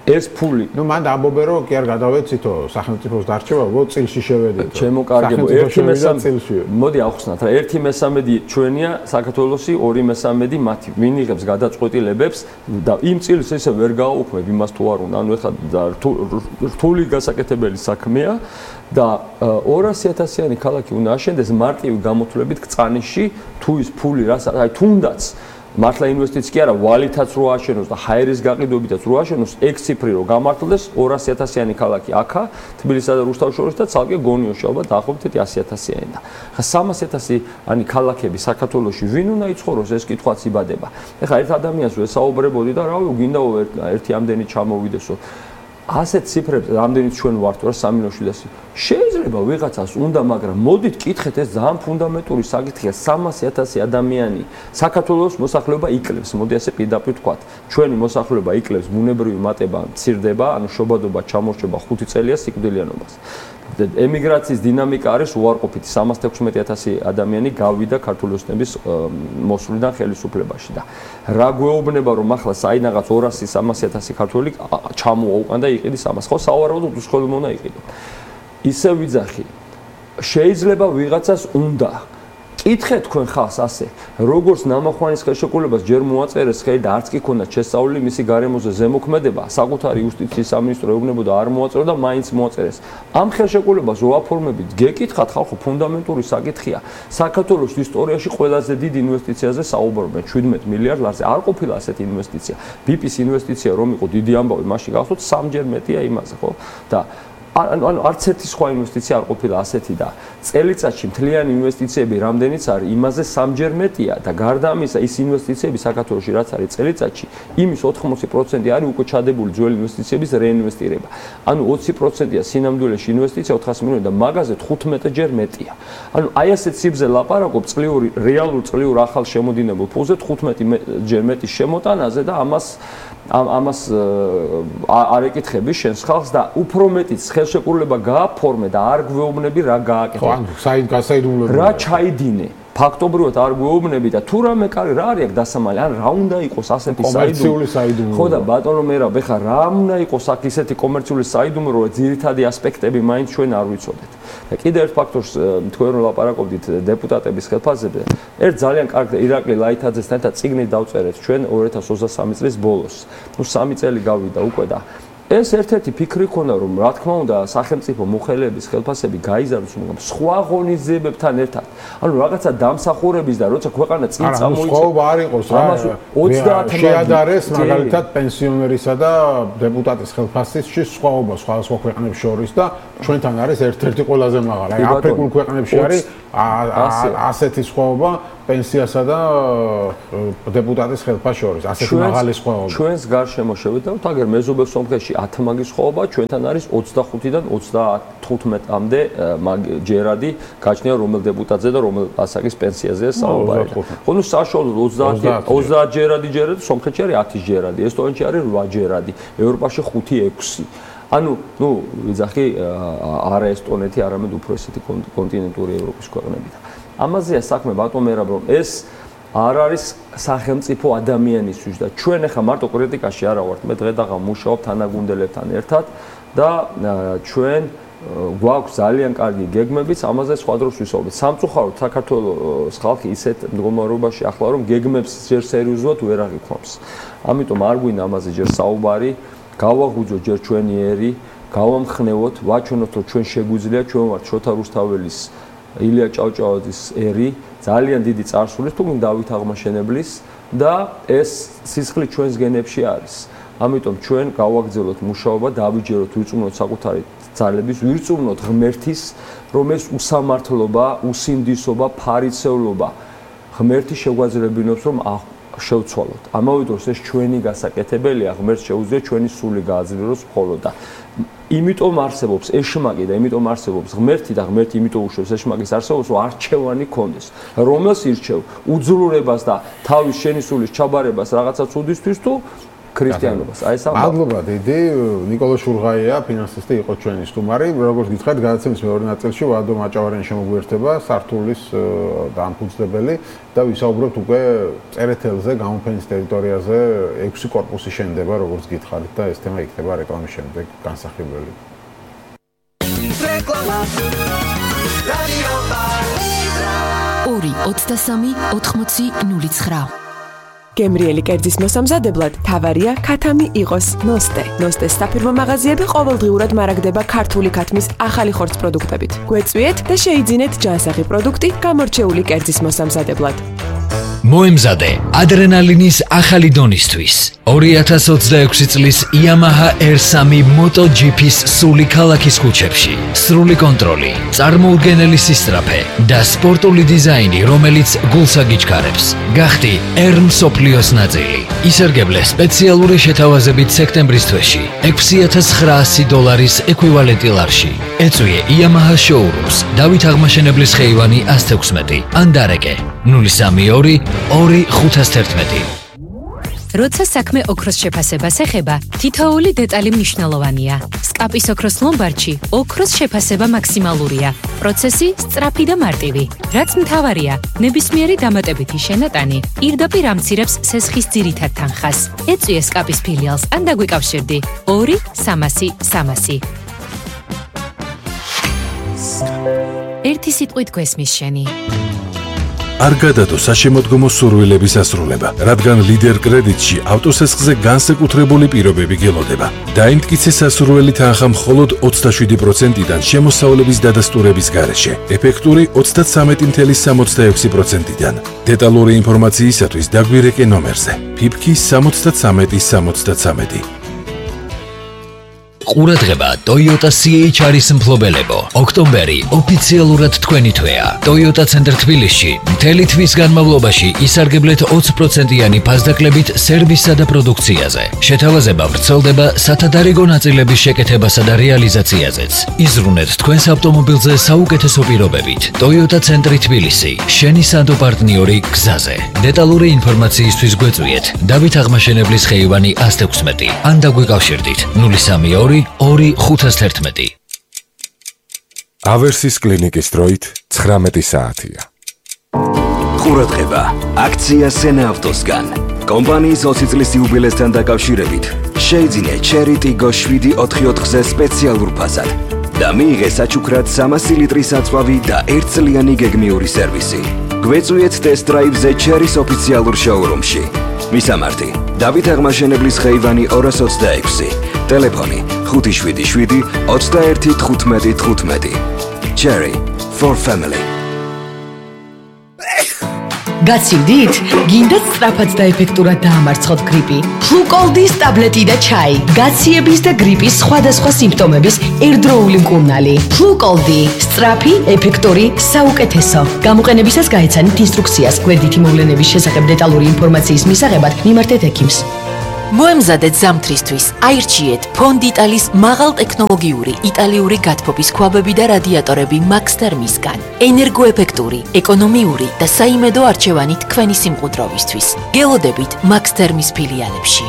ეს ფული ნუ მან ამბობენ რომ კი არ გადავეცითო სახელმწიფოს დარჩევა უბრალოდ წილში შევედით ჩემო კარგებო ერთი მესამედი მოდი ავხსნათ რა ერთი მესამედი ჩვენია საქართველოსი ორი მესამედი მათი ვინ იღებს გადაწყვეტილებებს და იმ წილს ესე ვერ გააუქმებ იმას თუ არ უნდა ანუ ეხლა რთული გასაკეთებელი საქმეა და ორასი ათასიანი ქალაქი უნდა აშენდეს მარტივი გამოთვლებით კწანიში თუ ის ფული რას აი თუნდაც მართლა ინვესტიცია კი არა ვალითაც რო აშენოს და ჰაერის გაყიდვებითაც რო აშენოს ექვს ციფრი რო გამართლდეს ორასი ათასიანი ქალაქი აქა თბილისსა და რუსთავის შორის და ცალკე გონიოში ალბათ დაახლოებით ასი ათასიანი და ხა სამასი ათასიანი ქალაქები საქართველოში ვინ უნდა იცხოვროს ეს კითხვაც იბადება ეხლა ერთ ადამიანს ვესაუბრებოდი და რავი გინდა ერთი ამდენი ჩამოვიდესო ასეთ ციფრებს რამდენიც ჩვენ ვართ რა სამი მილიონ შვიდასი შეიძლება ვიღაცას უნდა მაგრამ მოდით კითხეთ ეს ძალიან ფუნდამენტური საკითხია სამასი ათასი ადამიანი საქართველოს მოსახლეობა იკლებს მოდი ასე პირდაპირ ვთქვათ ჩვენი მოსახლეობა იკლებს ბუნებრივი მატება მცირდება ანუ შობადობა ჩამორჩება ხუთი წელია სიკვდილიანობას ემიგრაციის დინამიკა არის უარყოფითი სამას თექვსმეტი ათასი ადამიანი გავიდა ქართული ოცნების მოსვლიდან ხელისუფლებაში და რა გვეუბნება რომ ახლა საინაღაც ორასი სამასი ათასი ქართველი ჩამოვა უკან და იყიდის ამას ხო სავარაუდოდ უსხლელობა უნდა იყიდო ისე ვიძახი შეიძლება ვიღაცას უნდა კითხეთ თქვენ ხალხს ასე როგორც ნამახვანის ხელშეკრულებას ჯერ მოაწერეს ხელი და არც კი ქონდა შესწავლილი მისი გარემოზე ზემოქმედება საკუთარი იუსტიციის სამინისტრო ეუბნებოდა არ მოაწერო და მაინც მოაწერეს ამ ხელშეკრულებას რო აფორმებით გეკითხათ ხალხო ფუნდამენტური საკითხია საქართველოს ისტორიაში ყველაზე დიდ ინვესტიციაზე საუბრობენ შვიდმეტი მილიარდ ლარზე არ ყოფილა ასეთი ინვესტიცია ბიპის ინვესტიცია რომ იყო დიდი ამბავი მაშინ გახსოვთ სამჯერ მეტია იმაზე ხო და ანუ არც ერთი სხვა ინვესტიცია არ ყოფილა ასეთი და წელიწადში მთლიანი ინვესტიციები რამდენიც არის იმაზე სამჯერ მეტია და გარდა ამისა ის ინვესტიციები საქართველოში რაც არის წელიწადში იმის ოთხმოცი პროცენტი არის უკვე ჩადებული ძველი ინვესტიციების რეინვესტირება ანუ ოცი პროცენტია სინამდვილეში ინვესტიცია ოთხასი მილიონი და მაგაზე თხუთმეტჯერ მეტია ანუ აი ასეთ სიბზე ლაპარაკობ წლიური რეალურ წლიურ ახალ შემოდინებულ ფულზე თხუთმეტჯერ მეტი შემოტანაზე და ამას ამას არ ეკითხები შენს ხალხს და უფრო მეტიც ხელშეკრულება გააფორმე და არ გვეუბნები რა გააკეთე. ხო, ანუ საით გასაიდუმლოა. რა ჩაიდინე? ფაქტობრივად არ გვეუბნები და თუ რამე კარი რა არის აქ დასამალი, ან რა უნდა იყოს ასეთი საიდუმლო. ხო და ბატონო მერაბ, ეხლა რა უნდა იყოს აქ ისეთი კომერციული საიდუმლო, რომ ძირითადი ასპექტები მაინც ჩვენ არ ვიცოდეთ. და კიდევ ერთ ფაქტორს თქვენ რომ ლაპარაკობდით დეპუტატების ხელფასზე, ერთ ძალიან კარგ ირაკლი ლაითაძესთან ერთად წიგნი დავწერეთ ჩვენ ორი ათას ოცდასამი წლის ბოლოს. ნუ სამი წელი გავიდა უკვე და ეს ერთ-ერთი ფიქრი ქონდა რომ რა თქმა უნდა სახელმწიფო მოხელეების ხელფასები გაიზარდოს სხვა ღონისძიებებთან ერთად. ანუ რაღაცა დამსახურების და როცა ქვეყანა წინ წამოიწყო. არა, სხვა არ იყოს რა. ოცდაათი შეადარეს მაგალითად პენსიონერისა და დეპუტატის ხელფასში სხვაობა სხვადასხვა ქვეყნებს შორის და ჩვენთან არის ერთ-ერთი ყველაზე მაღალი. აი აფრიკულ ქვეყნებში არის ასეთი სხვაობა პენსიასა და დეპუტატის ხელფასს შორის, ასეთი მაღალი სხვაობა. ჩვენს გარშემო შევიდეთ, აგერ მეზობელ სომხეთში ათი მაგის სხვაობა, ჩვენთან არის ოცდახუთიდან ოცდათხუთმეტამდე ჯერადი გაჩნია რომელ დეპუტატზე და რომელ ასაკის პენსიაზეა საუბარი. ხო, ნუ საშუალოდ ოცდაათი ჯერადი ჯერადი, სომხეთში არის ათი ჯერადი, ესტონეთში არის რვა ჯერადი, ევროპაში ხუთი ექვსი. ანუ, ნუ ვიძახი არა ესტონეთი, არამედ უფრო ესეთი კონტინენტური ევროპის ქვეყნებიდან. ამაზეა საქმე ბატონო მერაბ რომ ეს არ არის სახელმწიფო ადამიანისთვის და ჩვენ ახლა მარტო კრიტიკაში არა ვართ მე დღედაღა მუშაობ თანაგუნდელებთან ერთად და ჩვენ გვაქვს ძალიან კარგი გეგმებიც ამაზე სხვა დროს ვისაუბრებთ სამწუხაროდ საქართველოს ხალხი ისეთ მდგომარეობაში ახლა რომ გეგმებს ჯერ სერიოზულად ვერ აღიქვამს ამიტომ არ გვინდა ამაზე ჯერ საუბარი გავაღვიძოთ ჯერ ჩვენი ერი გავამხნევოთ ვაჩვენოთ რომ ჩვენ შეგვიძლია ჩვენ ვართ შოთა რუსთაველის ილია ჭავჭავაძის ერი ძალიან დიდი წარსულის თუ დავით აღმაშენებლის და ეს სისხლი ჩვენს გენებში არის. ამიტომ ჩვენ გავაგრძელოთ მუშაობა, დავიჯეროთ, ვიწუნოთ საკუთარი ძალების, ვირწმუნოთ ღმერთის, რომ ეს უსამართლობა, usindisობა, ფარიცევლობა ღმერთი შეგვაძლევინოს რომ შევცვალოთ. ამავე დროს ეს ჩვენი გასაკეთებელია, ღმერთს შეუძლია ჩვენი სული გააძლიეროს მხოლოდ და იმიტომ არსებობს ეშმაკი და იმიტომ არსებობს ღმერთი და ღმერთი იმიტომ უშვებს ეშმაკის არსებობას, რომ არჩევანი ქონდეს. რომელს ირჩევ? უძულურებას და თავის შენი სულის ჩაბარებას რაღაცა ცუდისთვის თუ ქრისტიანობას. აი ეს მადლობა დიდი, ნიკოლოზ შურღაია, ფინანსისტი იყო ჩვენი სტუმარი. როგორც გითხარით, გადაცემის მეორე ნაწილში ვადო მაჭავარიანი შემოგვიერთება, სართულის დამფუძნებელი და ვისაუბრებთ უკვე წერეთელზე, გამოფენის ტერიტორიაზე ექვსი კორპუსი შენდება, როგორც გითხარით და ეს თემა იქნება რეკლამის შემდეგ განსახილველი. ორი ოცდასამი ოთხმოცი ნული ცხრა გემრიელი კერძის მოსამზადებლად თავარია ქათამი იყოს ნოსტე. ნოსტეს საფირმო მაღაზიები ყოველდღიურად მარაგდება ქართული ქათმის ახალი ხორცს პროდუქტებით. გვეწვიეთ და შეიძინეთ ჯანსაღი პროდუქტი გამორჩეული კერძის მოსამზადებლად. მოემზადე ადრენალინის ახალი დონისთვის. ორი ათას ოცდაექვსი წლის Yamaha R სამი MotoGP-ს სული ქალაქის ქუჩებში. სრული კონტროლი, წარმოუდგენელი სისწრაფე და სპორტული დიზაინი, რომელიც გულს აგიჩქარებს. გახდი R მსოფლიოს ნაწილი. ისარგებლე სპეციალური შეთავაზებით სექტემბრის თვეში ექვსი ათას ცხრაასი დოლარის ეკვივალენტი ლარში. ეწვიე Yamaha showrooms დავით აღმაშენებლის ხეივანი ას თექვსმეტი ან დარეკე ნული სამი ორი ორი ხუთას თერთმეტი. როცა საქმე ოქროს შეფასებას ეხება, თითოეული დეტალი მნიშვნელოვანია. სკაპის ოქროს ლომბარდში ოქროს შეფასება მაქსიმალურია. პროცესი სწრაფი და მარტივი. რაც მთავარია, ნებისმიერი დამატებითი შენატანი პირდაპირ ამცირებს სესხის ძირითად თანხას. ეწვიე სკაპის ფილიალს ან დაგვიკავშირდი ორი სამასი სამასი. ერთი სიტყვით გვესმის შენი. არ გადადო საშემოდგომო სურვილების ასრულება, რადგან ლიდერ კრედიტში ავტოსესხზე განსაკუთრებული პირობები გელოდება. დაიმტკიცე სასურველი თანხა მხოლოდ ოცდაშვიდი პროცენტიდან შემოსავლების დადასტურების გარეშე, ეფექტური ოცდათვრამეტი წუთი სამოცდაექვსი პროცენტიდან. დეტალური ინფორმაციისათვის დაგვირეკე ნომერზე ფიფკი სამოცდათვრამეტი სამოცდათვრამეტი. ყურადღება Toyota C H R-ის მფლობელებო. ოქტომბერი ოფიციალურად თქვენი თვეა. Toyota ცენტრ თბილისში მთელი თვის განმავლობაში ისარგებლეთ ოცი პროცენტიანი ფასდაკლებით სერვისსა და პროდუქციაზე. შეთავაზება ვრცელდება სათადარიგო ნაწილების შეკეთებასა და რეალიზაციაზეც. იზრუნეთ თქვენს ავტომობილზე საუკეთესო პირობებით. Toyota ცენტრი თბილისი, შენი სანდო პარტნიორი გზაზე. დეტალური ინფორმაციისთვის გვეწვიეთ დავით აღმაშენებლის ხეივანი ას თექვსმეტი ან დაგვიკავშირდით ნული სამი ორი ორი ხუთას თერთმეტი. ავერსის კლინიკის დროით ცხრამეტი საათია. ყურადღება, აქცია სენა ავტოსგან. კომპანიის ოცი წლის იუბილესთან დაკავშირებით შეიძინე Cherry Tiggo შვიდი ოთხი ოთხზე სპეციალურ ფასად და მიიღე საჩუქრად სამასი ლიტრის აწვავი და ერთწლიანი გეგმიური სერვისი. გვეწვიეთ test drive-ზე Cherry-ის ოფიციალურ შოურუმში. მისამართი: დავით აღმაშენებლის ხეივანი ორას ოცდაექვსი, ტელეფონი ხუთი შვიდი შვიდი ოცდაერთი თხუთმეტი თხუთმეტი. Cherry for family. გაცივდით? გინდათ სწრაფად და ეფექტურად დაამარცხოთ გრიპი? ფლუკოლდის ტაბლეტი და ჩაი. გაციების და გრიპის სხვადასხვა სიმპტომების ერთდროული მკურნალი. ფლუკოლდი. სწრაფი, ეფექტური, საუკეთესო. გამოყენებისას გაეცანით ინსტრუქციას. გვერდითი მოვლენების შესახებ დეტალური ინფორმაციის მისაღებად მიმართეთ ექიმს. მოემზადეთ ზამთრისთვის. აირჩიეთ ფონდიტალის მაღალტექნოლოგიური იტალიური გათბობის ქვაბები და რადიატორები Max Thermis-გან. ენერგოეფექტური, ეკონომიური და საიმედო არჩევანი თქვენი სიმყუდროვისთვის. გელოდებით Max Thermis ფილიალებში.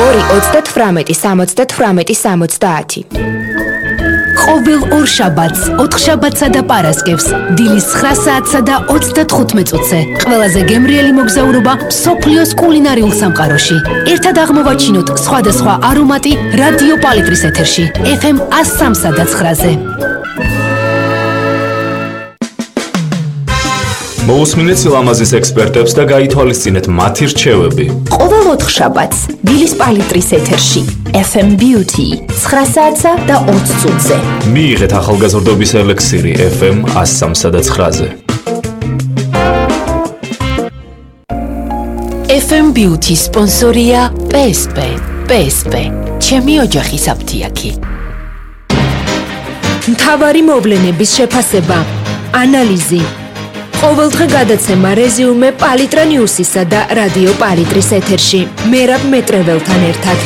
ორი ოცდათვრამეტი სამოცდათვრამეტი სამოცდაათი. ყოველ ორ შაბათს, ოთხ შაბათსა და პარასკევს, დილის ცხრა საათსა და ოცდათხუთმეტ წუთზე. ყველაზე გემრიელი მოგზაურობა მსოფლიოს კულინარიულ სამყაროში. ერთად აღმოვაჩინოთ სხვადასხვა არომატი რადიო პალიტრის ეთერში, ეფ ემ ას სამსა და ცხრაზე. მოусმინეთ სილამაზის ექსპერტებს და გაითვალისწინეთ მათი რჩევები. ყოველ ოთხ შაბათს, დილის პალიტრის ეთერში, ეფ ემ Beauty, ცხრა საათსა და ოცი წუთზე. მიიღეთ ახალგაზრდობის ელექსირი ეფ ემ ას სამსა და ცხრაზე. ეფ ემ Beauty სპონსორია პე ეს პე. პე ეს პე. ჩემი ოჯახის აფთიაქი. მთავარი მოვლენების შეფასება, ანალიზი. ყოველდღე გადაცემა რეზიუმე პალიტრა ნიუსისა და რადიო პალიტრის ეთერში. მერაბ მეტრეველთან ერთად.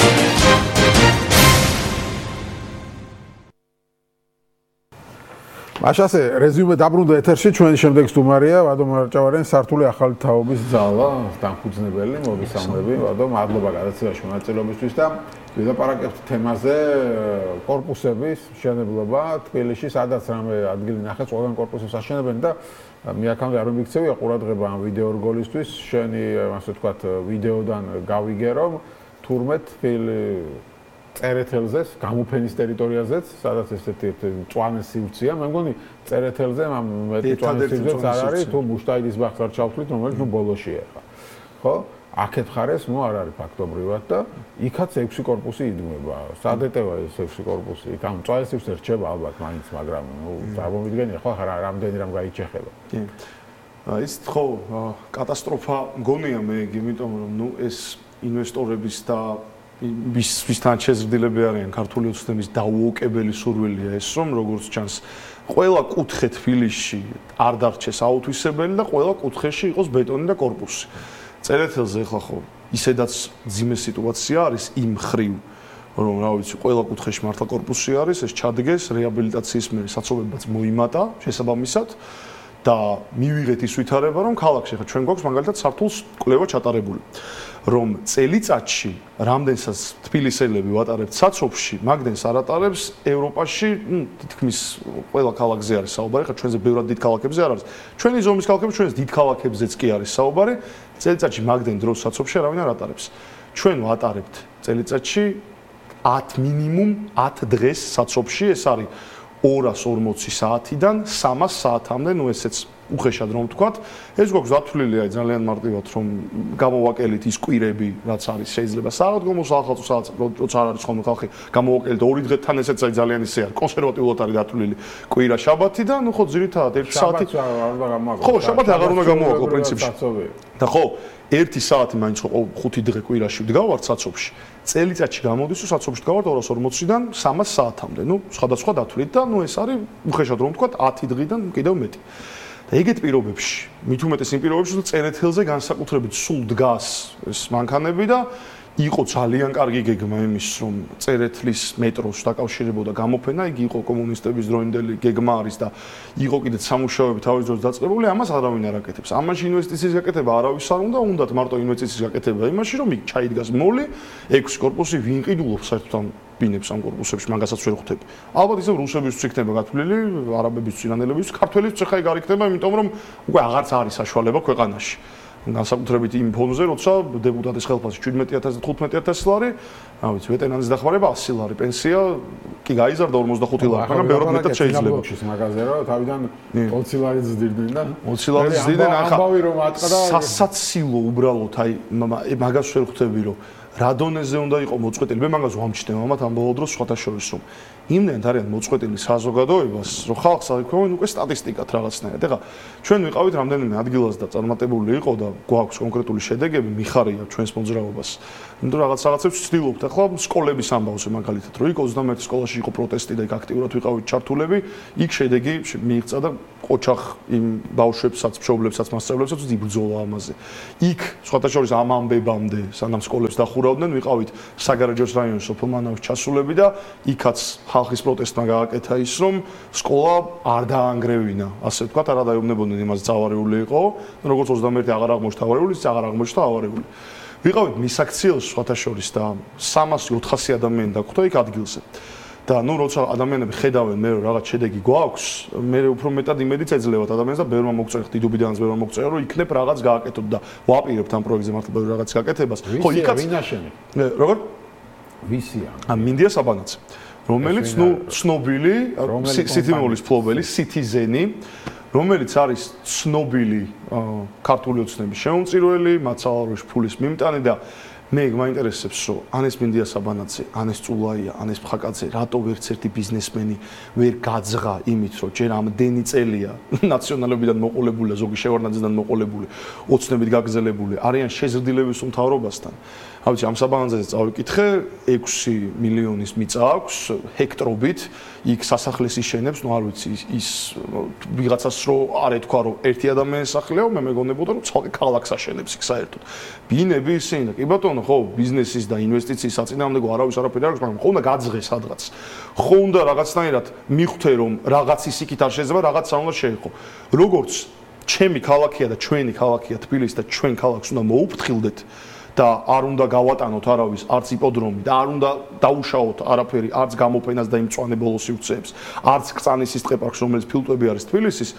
მაშასე რეზიუმე დაბრუნდა ეთერში. ჩვენი შემდეგი სტუმარია ვადო მარჭავარიანი, სართული ახალი თაობის ძალა, დამფუძნებელი, მოგესალმები. ვადო, მადლობა გადაცემაში მონაწილეობისთვის და ვილაპარაკებთ თემაზე კორპუსების მშენებლობა თბილისში, სადაც რამე ადგილი ნახეთ, ყველგან კორპუსებს აშენებენ და მე აქამდე არ მიგცევია ყურადღება ამ ვიდეო რგოლისთვის. შენი, ასე ვთქვათ, ვიდეოდან გავიგე, რომ თურმე თბილი წერეთელზე, გამოფენის ტერიტორიაზეც, სადაც ესეთი მწვანე სივრცეა, მე მგონი წერეთელზე ამ მეტი მწვანე სივრცეც არ არის, თუ მუშტაიდის ბაღს არ ჩავთვლით, რომელიც ნუ ბოლოშია ხა. ხო? აქეთ ხარეს, ნუ არ არის ფაქტობრივად და იქაც ექვსი კორპუსი იდგმება. სად ეტევა ეს ექვსი კორპუსი? იქ ამ მწვანე სივრცე რჩება ალბათ მაინც, მაგრამ ნუ წარმოვიდგენია ხო, ხარ რამდენი რამ გაიჩეხება. კი. ის ხო, კატასტროფა მგონია მე, იმიტომ რომ ნუ ეს ინვესტორების და ვის ვისთან შეზრდილები არიან ქართული ოცნების დაუოკებელი სურვილია ეს, რომ როგორც ჩანს, ყველა კუთხე თბილისში არ დარჩეს აუთვისებელი და ყველა კუთხეში იყოს ბეტონი და კორპუსი. წერეთელზე ახლა ხო ისედაც ძიმე სიტუაცია არის იმ ხრივ, რომ რა ვიცი, ყველა კუთხეში მართლა კორპუსი არის, ეს ჩადგეს, რეაბილიტაციის მერე საცობებაც მოიმატა შესაბამისად და მივიღეთ ის ვითარება, რომ ქალაქში ხა ჩვენ გვაქვს მაგალითად სართულს კვლევა ჩატარებული. რომ წელიწადში რამდენსაც თბილისელები ვატარებთ საცობში, მაგდენს არ ატარებს ევროპაში, ნუ თითქმის ყველა ქალაქზე არის საუბარი, ხა ჩვენზე ბევრად დიდ ქალაქებზე არ არის. ჩვენი ზომის ქალაქები, ჩვენს დიდ ქალაქებზეც კი არის საუბარი, წელიწადში მაგდენ დროს საცობში არავინ არ ატარებს. ჩვენ ვატარებთ წელიწადში ათ მინიმუმ ათ დღეს საცობში, ეს არის ორას ორმოცი საათიდან სამას საათამდე, ნუ ესეც უხეშად რომ ვთქვათ, ეს გვაქვს დათვლილი, აი ძალიან მარტივად რომ გამოვაკელით ის კვირები, რაც არის, შეიძლება საღდგომო სახალხო საათს, როცა არ არის ხოლმე ხალხი, გამოვაკელით ორი დღეთთან, ესეც აი ძალიან ისე არის, კონსერვატიულად არის დათვლილი კვირა შაბათი და ნუ ხო ძირითადად ერთი საათი. ხო, შაბათი აღარ უნდა გამოვაკლო პრინციპში. და ხო, ერთი საათი მაინც ხო ხუთი დღე კვირაში ვდგავართ საცობში. წელიწადში გამოდის, თუ საცობში ვდგავართ ორას ორმოციდან სამას საათამდე. ნუ სხვადასხვა დათვლით და ნუ ეს არის უხეშად რომ ვთქვათ ათი დღიდან კიდევ მეტი. და ეგეთ პირობებში, მით უმეტეს იმ პირობებში, რომ წერეთელზე განსაკუთრებით სულ დგას ეს მანქანები და იყო ძალიან კარგი გეგმა იმის, რომ წერეთლის მეტროს დაკავშირებოდა გამოფენა, იგი იყო კომუნისტების დროინდელი გეგმა არის და იყო კიდე სამუშაოები თავის დროს დაწყებული, ამას არავინ არ აკეთებს. ამაში ინვესტიციის გაკეთება არავის არ უნდა, უნდათ მარტო ინვესტიციის გაკეთება იმაში, რომ იქ ჩაიდგას მოლი, ექვსი корпуსი ვინ ყიდულობს საერთოდ ამ ბინებს ამ корпуსებში, მაგასაც ვერ ხვდები. ალბათ ისევ რუსებისთვის იქნება გათვლილი, არაბებისთვის, ირანელებისთვის, ქართველებისთვის ხა ეგ არ იქნება, იმიტომ რომ უკვე აღარც არის საშუალება ქვეყანაში. განსაკუთრებით იმ ფონზე, როცა დეპუტატის ხელფასი შვიდმეტი ათასი და თხუთმეტი ათასი ლარი, რა ვიცი, ვეტერანის დახმარება ასი ლარი, პენსია კი გაიზარდა ორმოცდახუთი ლარი, მაგრამ ბევრად მეტად შეიძლება. მაგაზე რა, თავიდან ოცი ლარი ზრდიდნენ და ოცი ლარი ზრდიდნენ, ახლა სასაცილო უბრალოდ, აი მაგას ვერ ხვდები, რომ რა დონეზე უნდა იყო მოწყვეტილი. მე მაგას ვამჩნევ ამათ ამ ბოლო დროს სხვათა შორის, რომ იმდენად არიან მოწყვეტილი საზოგადოებას, რომ ხალხს აიქვენ უკვე სტატისტიკად რაღაცნაირად. ეხლა ჩვენ ვიყავით რამდენიმე ადგილას და წარმატებული იყო და გვაქვს კონკრეტული შედეგები, მიხარია ჩვენს მოძრაობას. იმიტომ რაღაც რაღაცებს ვცდილობთ. ახლა სკოლების ამბავზე მაგალითად, რომ იქ ოცდამეერთი სკოლაში იყო პროტესტი და იქ აქტიურად ვიყავით ჩართულები, იქ შედეგი მიიღწა და ოჩახ იმ ბავშვებსაც, მშობლებსაც, მასწავლებლებსაც იბრძოლა ამაზე. იქ სხვათა შორის ამ ამბებამდე, სანამ სკოლებს დახურავდნენ, ვიყავით საგარეჯოს რაიონის სოფელ მანავის ჩასულები და იქაც ხალხის პროტესტმა გააკეთა ის, რომ სკოლა არ დაანგრევინა, ასე ვთქვათ, არ დაეუბნებოდნენ იმას ძალარეული იყო, როგორც ოცდამეერთი აღარ აღმოჩნდა ავარიული, ის აღარ აღმოჩნდა ავარიული. ვიყავით მისაქციელს სხვათა შორის და სამასი ოთხასი ადამიანი დაგვხვდა იქ ადგილზე. და ნუ როცა ადამიანები ხედავენ მე რაღაც შედეგი გვაქვს, მე უფრო მეტად იმედიც ეძლევათ ადამიანს და ბევრმა მოგწერა, დიდუბიდანაც ბევრმა მოგწერა, რომ იქნებ რაღაც გააკეთოთ და ვაპირებთ ამ პროექტზე მართლა ბევრი რაღაც გაკეთებას. ხო, იქაც ვინაშენი? როგორ? ვისია? ა მინდია საბანაძე. რომელიც ნუ ცნობილი სიტიმოლის ფლობელი, citizen-ი, რომელიც არის ცნობილი ქართული ოცნების შემომწირველი, მაცალაროში ფულის მიმტანი და მე მაინტერესებს, რომ ანეს მინდია საბანაძე, ანეს წულაია, ანეს ფხაკაძე, რატო ვერც ერთი ბიზნესმენი ვერ გაძღა იმით, რომ ჯერ ამდენი წელია ნაციონალებიდან მოყოლებული, ზოგი შევარდნაძიდან მოყოლებული, ოცნებით გაგზელებული, არიან შეზრდილების უმთავრობასთან. ავიცი ამ საბანაძეზე წავიკითხე, ექვსი მილიონის მიწა აქვს ჰექტრობით, იქ სასახლეს იშენებს, ნუ არ ვიცი ის ვიღაცას რო არ ეთქვა რომ ერთი ადამიანის სახლეა, მე მეგონებოდა რომ ცალკე ქალაქს აშენებს იქ საერთოდ. ბინები ისინი და კი ბატონო, ხო, ბიზნესის და ინვესტიციის საწინააღმდეგო არავის არაფერი არ აქვს, მაგრამ ხო უნდა გაძღე სადღაც. ხო უნდა რაღაცნაირად მიხვდე რომ რაღაც ის იქით არ შეიძლება, რაღაც არ უნდა შეეყო. როგორც ჩემი ქალაქია და ჩვენი ქალაქია თბილისი და ჩვენ ქალაქს უნდა მოუფრთხილდეთ და არ უნდა გავატანოთ არავის არც იპოდრომი და არ უნდა დაუშაოთ არაფერი არც გამოფენას და იმ მწვანე ბოლო სივრცეებს, არც კრწანისის ტყეპარკს, რომელიც ფილტვები არის თბილისის,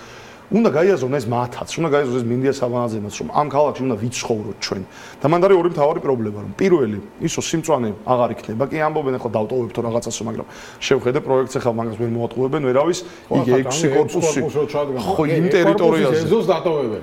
უნდა გაიაზრონ ეს მათაც, უნდა გაიაზრონ ეს მინდია საბანაძემაც, რომ ამ ქალაქში უნდა ვიცხოვროთ ჩვენ. და მანდ არის ორი მთავარი პრობლემა, რომ პირველი, ისო სიმწვანე აღარ იქნება, კი ამბობენ ახლა დავტოვებთო რაღაცასო, მაგრამ შევხედე პროექტს ახლა მაგას ვერ მოატყუებენ, ვერავის, იგი ექვსი корпуსი. ხო, იმ ტერიტორიაზე.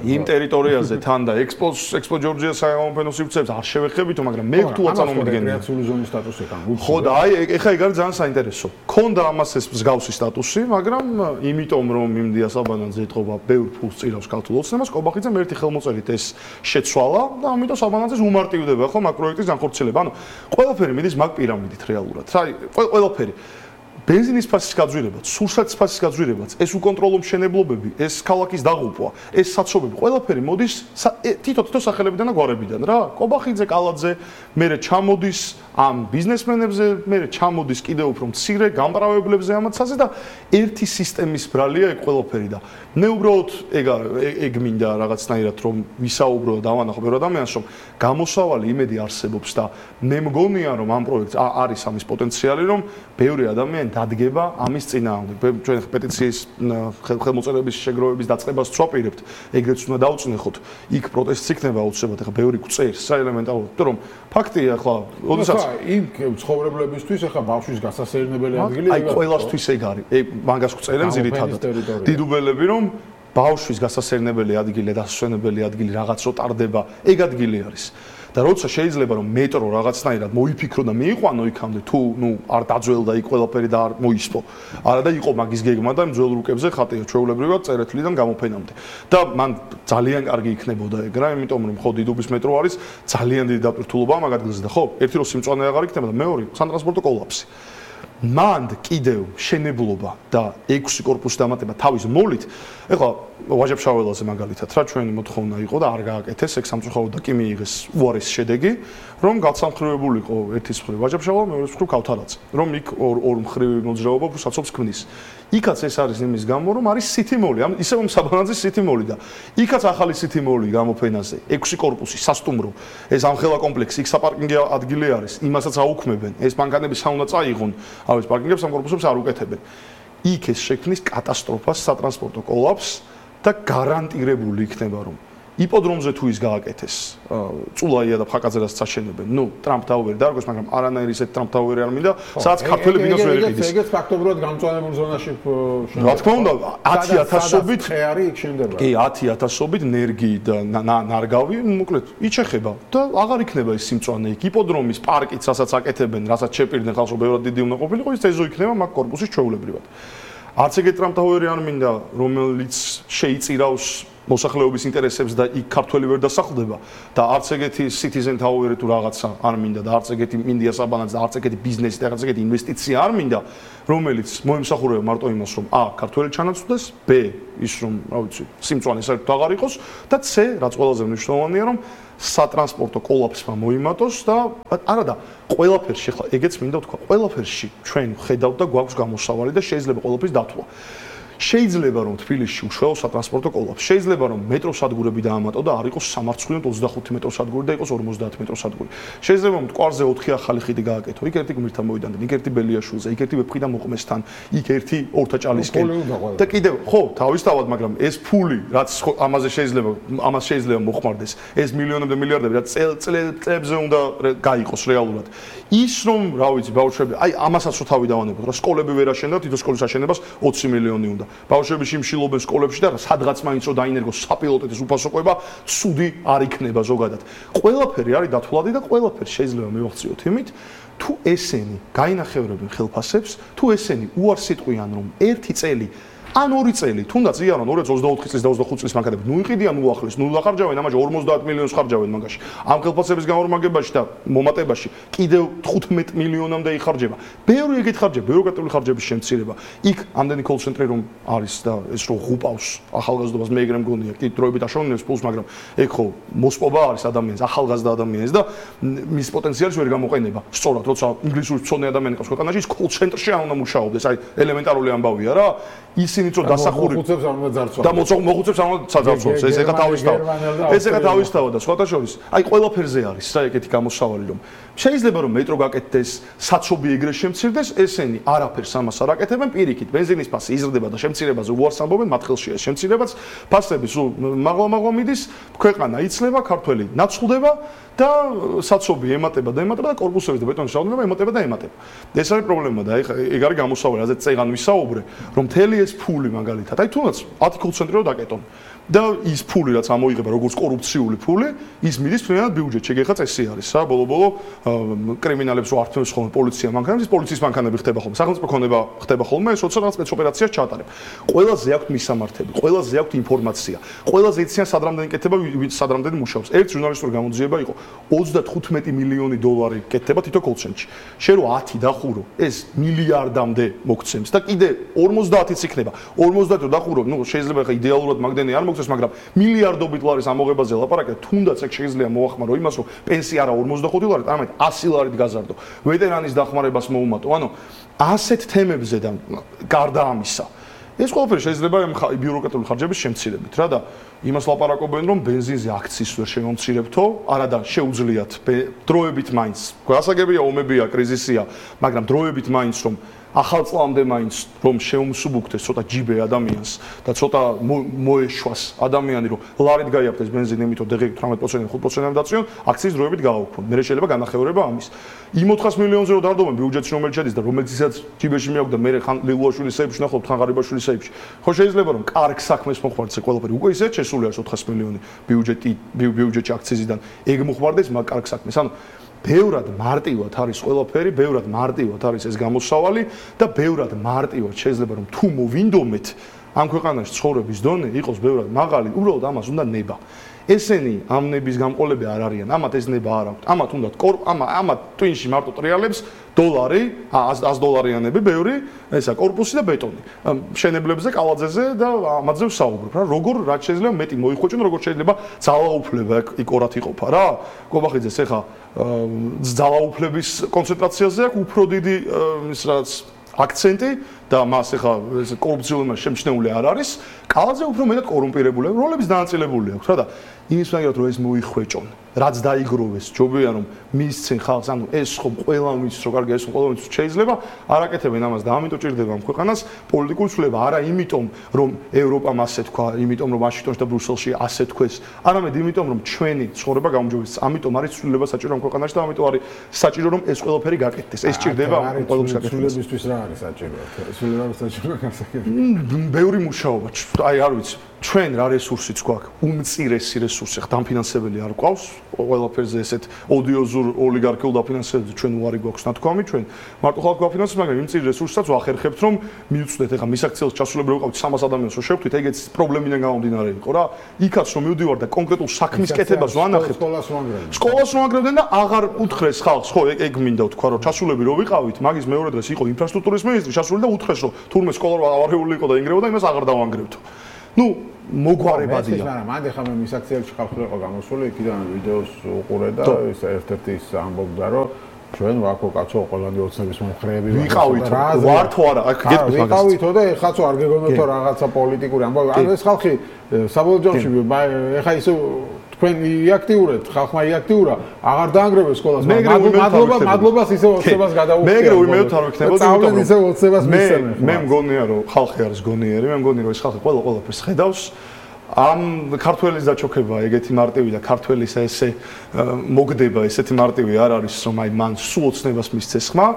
იმ ტერიტორიაზე თან და ექსპოს, ექსპო ჯორჯიას გამოფენო სივრცეებს არ შევეხებითო, მაგრამ მე თუ აწარმოებდგენია. რეკრეაციული ზონის სტატუსი კან. ხო და აი ეხა ეგ არის ძალიან საინტერესო. ქონდა ამას ეს მსგავსი სტატუსი, მაგრამ იმიტომ რომ იმდია საბანაძე ეთყობა ბევრ ფულს წირავს ქართულ ოცნებას, კობახიძემ ერთი ხელმოწერით ეს შეცვალა და ამიტომ საბანაძეს უმარტივდება ხო მაგ პროექტის განხორციელება. ანუ ყველაფერი მიდის მაგ პირამიდით რეალურად. აი ყველაფერი ბენზინის ფასის გაძვირებაც, სურსათის ფასის გაძვირებაც, ეს უკონტროლო მშენებლობები, ეს ქალაქის დაღუპვა, ეს საცობები, ყველაფერი მოდის თითო-თითო სახელებიდან და გვარებიდან რა. კობახიძე, კალაძე, მერე ჩამოდის ამ ბიზნესმენებზე, მერე ჩამოდის კიდევ უფრო მცირე გამპრავლებლებზე ამაცაზე და ერთი სისტემის ბრალია ეგ ყველაფერი და მე უბრალოდ ეგ ეგ მინდა რაღაცნაირად რომ ვისაუბრო და დავანახო ბევრ ადამიანს რომ გამოსავალი იმედი არსებობს და მე მგონია რომ ამ პროექტს არის ამის პოტენციალი რომ ბევრი ადამიანი დადგება ამის წინააღმდეგ. ჩვენ პეტიციის ხელმოწერების შეგროვების დაწყებას ვწვაპირებთ, ეგრეც უნდა დავწნეხოთ. იქ პროტესტი იქნება აუცილებლად, ახლა ბევრი გვწერს საელემენტარულად, იმიტომ რომ ფაქტია ახლა, ოდესაც იქ ცხოვრებლებისთვის ახლა ბავშვის გასასეირნებელი ადგილი აი ყველასთვის ეგ არის. ეგ მაგას გვწერენ ძირითადად. დიდუბელები რომ ბავშვის გასასეირნებელი ადგილი, დასვენებელი ადგილი რაღაც რო ტარდება, ეგ ადგილი არის. და როცა შეიძლება რომ მეტრო რაღაცნაირად მოიფიქრო და მიიყვანო იქამდე თუ ნუ არ დაძველდა იქ ყველაფერი და არ მოისპო. არა და იყო მაგის გეგმა და ძველ რუკებზე ხატია ჩვეულებრივად წერეთლიდან გამოფენამდე. და მან ძალიან კარგი იქნებოდა ეგ რა, იმიტომ რომ ხო დიდუბის მეტრო არის ძალიან დიდი დაპირთულობა მაგ ადგილზე და ხო, ერთი რო სიმწვანე აღარ იქნება და მეორე სატრანსპორტო კოლაფსი. მანდ კიდევ შენებლობა და ექვსი კორპუსი დამატება თავის მოლით. ეხლა ვაჟა-ფშაველაზე მაგალითად რა ჩვენი მოთხოვნა იყო და არ გააკეთეს, ეგ სამწუხაროდ და კი მიიღეს უარეს შედეგი, რომ გაცალმხრივებულიყო ერთის მხრივ ვაჟა-ფშაველა, მეორეს მხრივ ქავთარაძე, რომ იქ ორ ორ მხრივი მოძრაობა ფუსაცობს ქმნის. იქაც ეს არის იმის გამო, რომ არის სითიმოლი, ამ ისევ საბანაძის სითიმოლი და იქაც ახალი სითიმოლი გამოფენაზე, ექვსი კორპუსი, სასტუმრო, ეს ამხელა კომპლექსი, იქ საპარკინგო ადგილი არის, იმასაც აუქმებენ, ეს მანქანები საუნდა წაიღონ, ავეს პარკინგებს ამ კორპუსებს არ უკეთებენ. იქ ეს შექმნის კატასტროფას, სატრანსპორტო კოლაფსს და გარანტირებული იქნება, რომ იპოდრომზე თუ ის გააკეთეს, წულაია და ფაკაძერას წაშენებენ. ნუ ტრამპ ტაუერი დარგოს, მაგრამ არანაირი ისეთ ტრამპ ტაუერი არ მინდა, სადაც ქართველი ბინოს ვერ იყიდეს. ეგეც ფაქტობრივად გამწვანებულ ზონაში რა თქმა უნდა, ათი ათასობით ხე არის იქ შენდება. კი, ათი ათასობით ნერგი და ნარგავი, მოკლედ, იჩეხება და აღარ იქნება ის სიმწვანე იქ. იპოდრომის პარკიც, რასაც აკეთებენ, რასაც შეპირდნენ ხალხს, ბევრად დიდი უნდა ყოფილიყო, ის ეზო იქნება მაგ კორპუსის ჩვეულებრივად. არც ეგეთ ტრამპ ტაუერი არ მინდა, რომელიც შეიწირავს მოსახლეობის ინტერესებს და იქ ქართველი ვერ დასახლდება და არც ეგეთი citizen tower თუ რაღაცა არ მინდა და არც ეგეთი მინდია საბანაც და არც ეგეთი ბიზნესი და არც ეგეთი ინვესტიცია არ მინდა, რომელიც მოემსახურება მარტო იმას, რომ ა ქართველი ჩანაცვლდეს, ბ ის რომ, რა ვიცი, სიმწვანე საერთოდ აღარ იყოს და c რაც ყველაზე მნიშვნელოვანია, რომ სატრანსპორტო კოლაფსმა მოიმატოს და არა და ყველაფერში ხლა ეგეც მინდა ვთქვა, ყველაფერში ჩვენ ხედავთ და გვაქვს გამოსავალი და შეიძლება ყველაფრის დათვლა. შეიძლება რომ თბილისში უშუალო სატრანსპორტო კოლაფსი, შეიძლება რომ მეტროსადგურები დაამატო და არ იყოს სამარცხვინო ოცდახუთი მეტროსადგური და იყოს ორმოცდაათი მეტროსადგური. შეიძლება რომ მტკვარზე ოთხი ახალი ხიდი გააკეთო, იქ ერთი გმირთან მოიდანდენ, იქ ერთი ბელიაშვილზე, იქ ერთი ვეფხვიდან მოყმესთან, იქ ერთი ორთაჭალისკენ. და კიდევ, ხო, თავისთავად, მაგრამ ეს ფული, რაც ამაზე შეიძლება, ამას შეიძლება მოხმარდეს, ეს მილიონები და მილიარდები, რაც წლებზე უნდა გაიყოს რეალურად. ის რომ, რა ვიცი, ბავშვები, აი ამასაც რო თავი დავანებოთ, რა სკოლები ვერ აშენდა, თითო სკოლის აშენებას ოცი მილიონი უნდა. ბავშვები შიმშილობენ სკოლებში და სადღაც მაინც რო დაინერგოს საპილოტეთის უფასოყვება, ცუდი არ იქნება ზოგადად. ყველაფერი არის დათვლადი და ყველაფერი შეიძლება მივახციოთ იმით, თუ ესენი გაინახევრებენ ხელფასებს, თუ ესენი უარს იტყვიან, რომ ერთი წელი ან ორი წელი, თუნდაც იანონ ორი ათას ოცდაოთხი წლის და ოცდახუთი წლის მანქანები, ნუ იყიდიან უახლეს, ნუ ლახარჯავენ, ამაში ორმოცდაათ მილიონს ხარჯავენ მაგაში. ამ ხელფასების განორმაგებაში და მომატებაში კიდევ თხუთმეტ მილიონამდე იხარჯება. ბევრი ეგეთ ხარჯები, ბიუროკრატიული ხარჯების შემცირება. იქ ამდენი call center-ი რომ არის და ეს რო ღუპავს ახალგაზრდობას, მე ეგრე მგონია, კი დროებით აშოვნებს პულს, მაგრამ ეგ ხო მოსპობა არის ადამიანს, ახალგაზრდა ადამიანს და მის პოტენციალს ვერ გამოყენება. სწორად, როცა ინგლისურის მცოდნე ადამიანი ყავს ქვეყანაში, ის call center-ში არ უნდა მუშაობდეს, აი ელემენტარული ამბავია რა. ისინი რომ დასახური მოხუცებს არ უნდა ძარცვა და მოხუცებს არ უნდა საძარცვას, ეს ეხა თავისთავად. ეს ეხა თავისთავად და სხვათა შორის, აი ყველაფერზე არის რა ეგეთი გამოსავალი რომ შეიძლება რომ მეტრო გაკეთდეს, საცობი ეგრე შემცირდეს, ესენი არაფერს ამას არ აკეთებენ, პირიქით ბენზინის ფასი იზრდება და შემცირებაზე უარს ამბობენ, მათ ხელშია ეს შემცირებაც, ფასები სულ მაღლა-მაღლა მიდის, ქვეყანა იცლება, ქართველი ნაცვლდება და საცობი ემატება და ემატება და კორპუსების და ბეტონის რაოდენობა ემატება და ემატება. ეს არის პრობლემა და ეხა ეგ არის გამოსავალი, რაზეც წეგან ვისაუბრე, რომ მთელი ეს ფული მაგალითად, აი თუნდაც ათი call center-ი რო დაკეტონ და ის ფული რაც ამოიღება როგორც კორუფციული ფული, ის მიდის ფრენად ბიუჯეტში. ეგ ეხა წესი არის, რა, ბოლო-ბოლო კრიმინალებს რო ართმევს ხოლმე პოლიცია მანქანებს, ის პოლიციის მანქანები ხდება ხოლმე, სახელმწიფო ქონება ხდება ხოლმე, ეს როცა რაღაც სპეცოპერაციას ჩაატარებ. ყველაზე აქვთ მისამართები, ყველაზე აქვთ ინფორმაცია, ყველაზე იციან სად რამდენი კეთება, სად რამდენი მუშაობს. ერთ ჟურნალისტური გამოძიება იყო ოცდათხუთმეტი მილიონი დოლარი კეთდება თითო call center-ში. შენ რო ათი დახურო, ეს მილიარდამდე მოგცემს და კიდე ორმოცდაათიც იქნება. ორმოცდაათი დახურო, ნუ შეიძლება ხა იდეალურად მაგდენი არ მოგცემს, მაგრამ მილიარდობით ლარის ამოღებაზე ლაპარაკია, თუნდაც ეგ შეიძლება მოახმარო იმას, რომ პენსია არა ორმოცდახუთი ლარი, არამედ ასი ლარით გაზარდო. ვეტერანის დახმარებას მოუმატო. ანუ ასეთ თემებზე და გარდა ამისა ეს ყველაფერი შეიძლება ბიუროკრატიული ხარჯების შემცირებით რა და იმას ლაპარაკობენ რომ ბენზინზე აქციის ვერ შემომცირებთო, არა და შეუძლიათ დროებით მაინც. გასაგებია ომებია, კრიზისია, მაგრამ დროებით მაინც რომ ახალ წლამდე მაინც რომ შეუმსუბუქდეს ცოტა ჯიბე ადამიანს და ცოტა მოეშვას ადამიანი რომ ლარით გაიაფთეს ბენზინი იმითო დეგ თვრამეტ პროცენტი ხუთ პროცენტი დაწიონ აქციის დროებით გააუქმონ. მე შეიძლება განახევრება ამის. იმ ოთხას მილიონზე რო დარდობენ ბიუჯეტში რომელიც შედის და რომელიცაც ჯიბეში მიაქვს და მე ხან ლილუაშვილის საებში ნახავთ ხან ღარიბაშვილის საებში. ხო შეიძლება რომ კარგ საქმეს მოხმარდეს ყველაფერი. უკვე ისე შესული არის ოთხას მილიონი ბიუჯეტი ბიუჯეტში აქციზიდან. ეგ მოხმარდეს მაგ კარგ საქმეს. ანუ ბევრად მარტივად არის ყველაფერი, ბევრად მარტივად არის ეს გამოსავალი და ბევრად მარტივად შეიძლება რომ თუ მოვინდომეთ ამ ქვეყანაში ცხოვრების დონე იყოს ბევრად მაღალი, უბრალოდ ამას უნდა ნება. ესენი ამ ნების გამყოლები არ არიან, ამათ ეს ნება არ აქვთ. ამათ უნდა კორპ, ამა ამათ twin-ში მარტო ტრიალებს დოლარი, ას დოლარიანები, ბევრი, ესა კორპუსი და ბეტონი. მშენებლებზე, კალაძეზე და ამაზე ვსაუბრობ რა. როგორ რაც შეიძლება მეტი მოიხვეჭონ, როგორ შეიძლება ძალაუფლება იქ ორად იყოფა რა. კობახიძეს ეხა ძალაუფლების კონცენტრაციაზე აქვს უფრო დიდი ის რაც აქცენტი და მას ეხა კორუფციული შემჩნეული არ არის. კალაძე უფრო მეტად კორუმპირებული, როლების დანაწილებული აქვს რა და იმის მაგათ რომ ეს მოიხვეჭონ, რაც დაიგროვეს, ჯობია რომ მისცენ ხალხს, ანუ ეს ხომ ყველა მის რო კარგი ეს ყველა მის შეიძლება არაკეთებენ ამას და ამიტომ ჭირდება ამ ქვეყანას პოლიტიკური ცვლილება, არა იმიტომ რომ ევროპამ ასე თქვა, იმიტომ რომ ვაშინგტონში და ბრიუსელში ასე თქვეს, არამედ იმიტომ რომ ჩვენი ცხოვრება გაუმჯობესდეს, ამიტომ არის ცვლილება საჭირო ამ ქვეყანაში და ამიტომ არის საჭირო რომ ეს ყველაფერი გაკეთდეს. ეს ჭირდება ყველობის გაკეთებას. ცვლილებისთვის რა არის საჭირო? ცვლილება საჭირო გასაკეთება. ბევრი მუშაობა, აი არ ვიცი. ჩვენ რა რესურსიც გვაქვს, უმწირესი რესურსი, ხა დამფინანსებელი არ გვყავს, ყველაფერზე ესეთ ოდიოზურ ოლიგარქიულ დაფინანსებებზე ჩვენ უარი გვაქვს ნათქვამი, ჩვენ მარტო ხალხი გვაფინანსებს, მაგრამ იმ წირი რესურსსაც ვახერხებთ, რომ მიუწვდეთ, ეხა მის აქციელს ჩასულებრივ ვიყავთ სამას ადამიანს, რომ შევხვდით, ეგეც პრობლემიდან გამომდინარე იყო რა. იქაც რომ მივდივარ და კონკრეტულ საქმის კეთებას ვანახებ, სკოლას ვანგრევენ. სკოლას ვანგრევენ და აღარ უთხრეს ხალხს, ხო, ეგ მინდა ვთქვა, რომ ჩასულები რო ვიყავით, მაგის მეორე დღეს იყო ინფრასტრუქტურის მინისტრი, ჩასული და უთხრეს, რომ თურმე სკოლა ავარეული იყო და ინგრევა და იმას აღარ დავანგრევთო. ნუ მოგვარებადია. მაგრამ მანდ ახლა მე მის აქციელში ხალხი გამოსული, იქიდან ვიდეოს უყურე და ეს ერთ-ერთი ის ამბობდა, რომ ჩვენ ვაკო კაცო ყველანი ოცნების მომხრეები ვიყავით, ვარ თუ არა, აქ გეტყვით მაგას. ვიყავითო და ეხლაც არ გეგონებთო რაღაცა პოლიტიკური ამბავი. ანუ ეს ხალხი საბოლოო ჯამში ეხა ისე თქვენ იაქტიურეთ, ხალხმა იაქტიურა, აღარ დაანგრევეს სკოლას. მადლობა, მადლობას ისე ოცნებას გადაუხდით. მე ეგრე ვიმეოთ არ ვიქნებოდი, იმიტომ რომ ისე ოცნებას მისცემენ. მე მგონია რომ ხალხი არის გონიერი, მე მგონია რომ ეს ხალხი ყველა ყველაფერს ხედავს. ამ ქართველის დაჩოქება ეგეთი მარტივი და ქართველის ესე მოგდება ესეთი მარტივი არ არის რომ აი მან სულ ოცნებას მისცეს ხმა.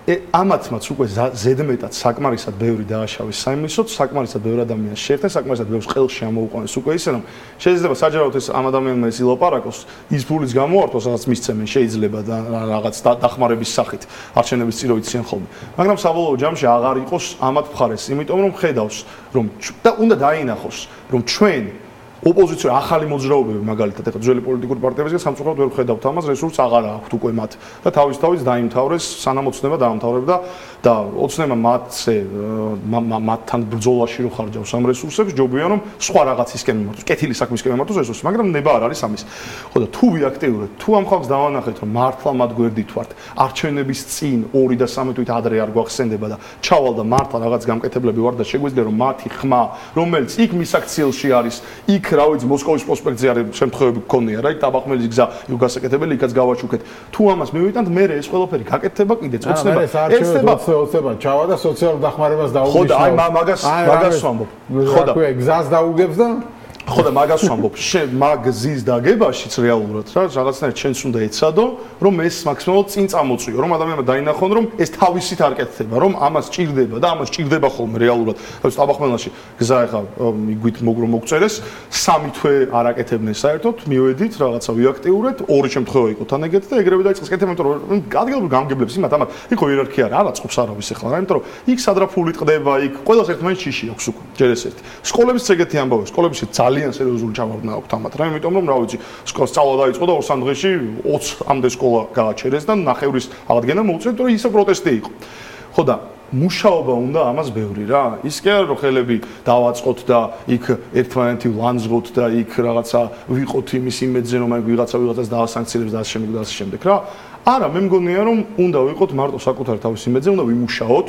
ამათმაც უკვე ზედმეტად საკმარისად ბევრი დააშავეს საიმისოდ, საკმარისად ბევრი ადამიანს შეერთეს, საკმარისად ბევრს ყელში ამოუყვანეს უკვე ისე რომ შეიძლება საჯაროდ ეს ამ ადამიანმა ეს ილაპარაკოს, ის ფულიც გამოართოს, რაღაც მისცემენ შეიძლება და რაღაც დახმარების სახით არჩევნების წინ რო იციან ხოლმე. მაგრამ საბოლოო ჯამში აღარ იყოს ამათ მხარეს, იმიტომ რომ ხედავს რომ და უნდა დაინახოს რომ ჩვენ ოპოზიცია ახალი მოძრაობები მაგალითად ეხლა ძველი პოლიტიკური პარტიებისგან სამწუხაროდ ვერ ხედავთ ამას რესურსს აღარ აქვთ უკვე მათ და თავის თავის დაიმთავრეს სანამ ოცნება დაამთავრებდა და ოცნება მათზე მათთან ბრძოლაში რო ხარჯავს ამ რესურსებს ჯობია რომ სხვა რაღაცისკენ მიმართოს კეთილი საქმისკენ მიმართოს რესურსი მაგრამ ნება არ არის ამის ხო და თუ ვიაქტიურებთ თუ ამ ხალხს დავანახეთ რომ მართლა მათ გვერდით ვართ არჩევნების წინ ორი და სამი თვით ადრე არ გვახსენდება და ჩავალ და მართლა რაღაც გამკეთებლები ვარ და შეგვიძლია რომ მათი ხმა რომელიც იქ მის აქციელში არის იქ რა ვიცი მოსკოვის პროსპექტზე არის შემთხვევები გქონია რა იქ ტაბახმელის გზა იქ გასაკეთებელი იქაც გავაჩუქეთ თუ ამას მივიტანთ მე ეს ყველაფერი გაკეთდება კიდე წოცნება ესება ოცნება ჩავა და სოციალურ დახმარებას დაუგებს ხო და აი მაგას მაგას ვამბობ ხო და გზას დაუგებს და ხო და მაგას ვამბობ მაგზის დაგებაშიც რეალურად რა რაღაცნაირად ჩვენც უნდა ეცადო რომ ეს მაქსიმალურად წინ წამოწვიო რომ ადამიანმა დაინახონ რომ ეს თავისით არ კეთდება რომ ამას ჭირდება და ამას ჭირდება ხოლმე რეალურად თავის ტაბახმელაში გზა ახლა მიგვით მოგრო მოგწერეს სამი თვე არ აკეთებდნენ საერთოდ მივედით რაღაცა ვიაქტიურეთ ორი შემთხვევა იყო თან ეგეთი და ეგრევე დაიწყეს კეთება იმიტომ რომ ადგილობრივ გამგებლებს იმათ ამათ იყო იერარქია რა აწყობს არავის ახლა რა იმიტომ რომ იქ სადრაფული ტყდება იქ ყველას ერთმანეთს შიში აქვს უკვე ჯერ ეს ერთი სკოლების ეგეთი ამბავი სკოლებში ძალიან სერიოზული ჩავარდნა აქვს თამათ რა იმიტომ რომ რა ვიცი სკოლა სწავლა დაიწყო და ორ სამ დღეში ოცამდე სკოლა გააჩერეს და ნახევრის აღდგენა მოუწევთ რომ ისე პროტესტი იყო ხო და მუშაობა უნდა ამას ბევრი რა ის კი არა რომ ხელები დავაწყოთ და იქ ერთმანეთი ვლანძღოთ და იქ რაღაცა ვიყოთ იმის იმედზე რომ აი ვიღაცა ვიღაცას დაასანქცირებს და ასე შემდეგ და ასე შემდეგ რა არა მე მგონია რომ უნდა ვიყოთ მარტო საკუთარი თავის იმედზე უნდა ვიმუშაოთ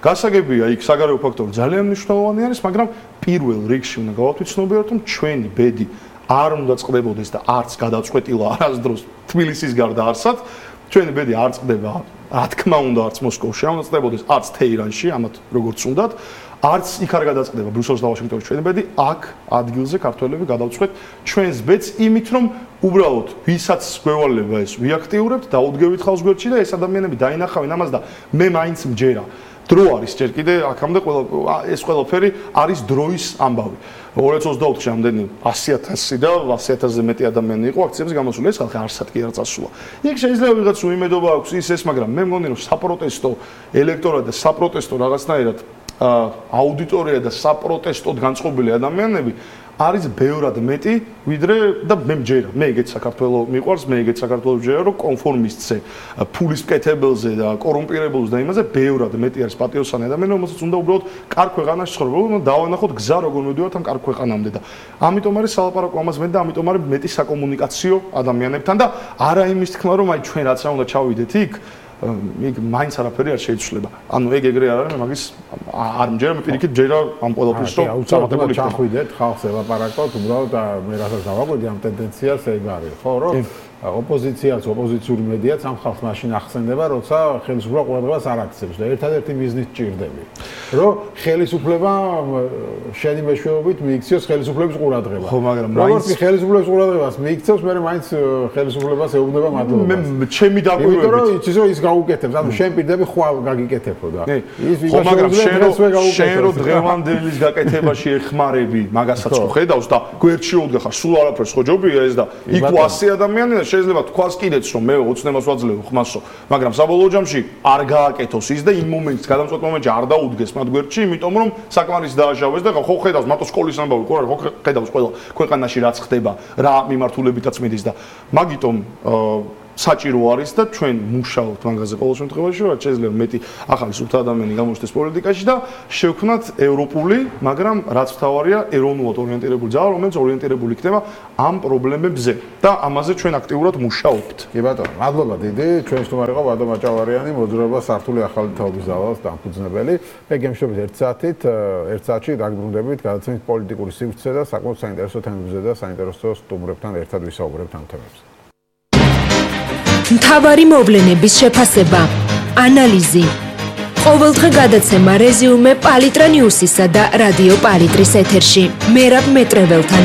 გასაგებია იქ საგარეო ფაქტორი ძალიან მნიშვნელოვანი არის მაგრამ პირველ რიგში უნდა გავათვითცნობიეროთ რომ ჩვენი ბედი არ უნდა წყდებოდეს და არც გადაწყვეტილა არასდროს თბილისის გარდა არსად ჩვენი ბედი არ წყდება რა თქმა უნდა არც მოსკოვში არ უნდა წყდებოდეს არც თეირანში ამათ როგორც უნდათ არც იქ არ გადაწყდება ბრიუსელში და ვაშინგტონში ჩვენი ბედი აქ ადგილზე ქართველები გადავწყვეტ ჩვენს ბედს იმით რომ უბრალოდ ვისაც გვევალება ეს ვიაქტიურებთ და უდგევით ხალხს გვერდში და ეს ადამიანები დაინახავენ ამას და მე მაინც მჯერა დრო არის ჯერ კიდე აქამდე ყველა ეს ყველაფერი არის დროის ამბავი ორი ათას ოცდაოთხში ამდენი ასი ათასი და ასი ათასზე მეტი ადამიანი იყო აქციებზე გამოსული ეს ხალხი არსად კი არ წასულა იქ შეიძლება ვიღაც უიმედობა აქვს ის ეს მაგრამ მე მგონი რომ საპროტესტო ელექტორატ და საპროტესტო რაღაცნაირად აუდიტორია და საპროტესტოდ განწყობილი ადამიანები არის ბევრად მეტი, ვიდრე და მე მჯერა, მე ეგეთ საქართველოს მიყვარს, მე ეგეთ საქართველოს მჯერა, რომ კონფორმისტზე, ფულის მკეთებელზე და კორუმპირებულზე და იმაზე ბევრად მეტი არის პატიოსანი ადამიანი, რომელსაც უნდა უბრალოდ კარგ ქვეყანაში ცხოვრება, უნდა დავანახოთ გზა, როგორ მივდივართ ამ კარგ ქვეყანამდე და ამიტომ არის სალაპარაკო ამას მეტი და ამიტომ არის მეტი საკომუნიკაციო ადამიანებთან და არა იმის თქმა, რომ აი ჩვენ რაც რა უნდა ჩავიდეთ იქ იქ მაინც არაფერი არ შეიძლება. ანუ ეგ ეგრე არ არის, მე მაგის არ მჯერა, მე პირიქით მჯერა ამ ყველაფერს, რომ წარმატებული ჩახვიდეთ, ხალხს ელაპარაკოთ, უბრალოდ მე რასაც დავაკვირდი ამ ტენდენციას ეგ არის, ხო, რომ ოპოზიციაც, ოპოზიციური მედიაც ამ ხალხს მაშინ ახსენდება, როცა ხელისუფლება ყურადღებას არ აქცევს და ერთადერთი მიზნით ჭირდები, რომ ხელისუფლება შენი მეშვეობით მიიქციოს ხელისუფლების ყურადღება. ხო, მაგრამ როგორც ხელისუფლების ყურადღებას მიიქცევს, მე მაინც ხელისუფლებას ეუბნება მადლობა. მე ჩემი დაკვირვებით, იმიტომ რომ იცის რომ ის გაუკეთებს, ანუ შენ პირდები ხვალ გაგიკეთებო და ის ვიღაცა მაგრამ შენ რო დღევანდელის გაკეთებაში ეხმარები, მაგასაც ხო ხედავს და გვერდში უდგახარ, სულ არაფერს ხო ჯობია ეს და იქ ასი ადამიანი და შეიძლება თქვას კიდეც რომ მე ოცნებას ვაძლევ ხმასო, მაგრამ საბოლოო ჯამში არ გააკეთოს ის და იმ მომენტს, გადამწყვეტ მომენტში არ დაუდგეს მათ გვერდში, იმიტომ რომ საკმარის დააშავეს და ხო ხედავს მათო სკოლის ამბავი, ხო ხედავს ყველა ქვეყანაში რაც ხდება, რა მიმართულებითაც მიდის და მაგიტომ საჭირო არის და ჩვენ მუშაობთ მაგაზე ყოველ შემთხვევაში, რომ შეიძლება მეტი ახალი სუფთა ადამიანი გამოჩნდეს პოლიტიკაში და შევქმნათ ევროპული, მაგრამ რაც მთავარია, ეროვნულად ორიენტირებული ძალა, რომელიც ორიენტირებული იქნება ამ პრობლემებზე და ამაზე ჩვენ აქტიურად მუშაობთ. კი ბატონო, მადლობა დიდი. ჩვენ სტუმარი იყო ვადო მაჭავარიანი, მოძრაობა სართული ახალი თაობის ძალას დამფუძნებელი. მე გემშვიდობით ერთ საათით, ერთ საათში დაგბრუნდებით, გადაცემით პოლიტიკური სივრცე და საკმაოდ საინტერესო თემებზე და საინტერესო სტუმრებთან ერთად ვისაუბრებთ ამ თემებზე. მთავარი მოვლენების შეფასება, ანალიზი, ყოველდღე გადაცემა რეზიუმე პალიტრა ნიუსისა და რადიო პალიტრის ეთერში. მერაბ მეტრეველთან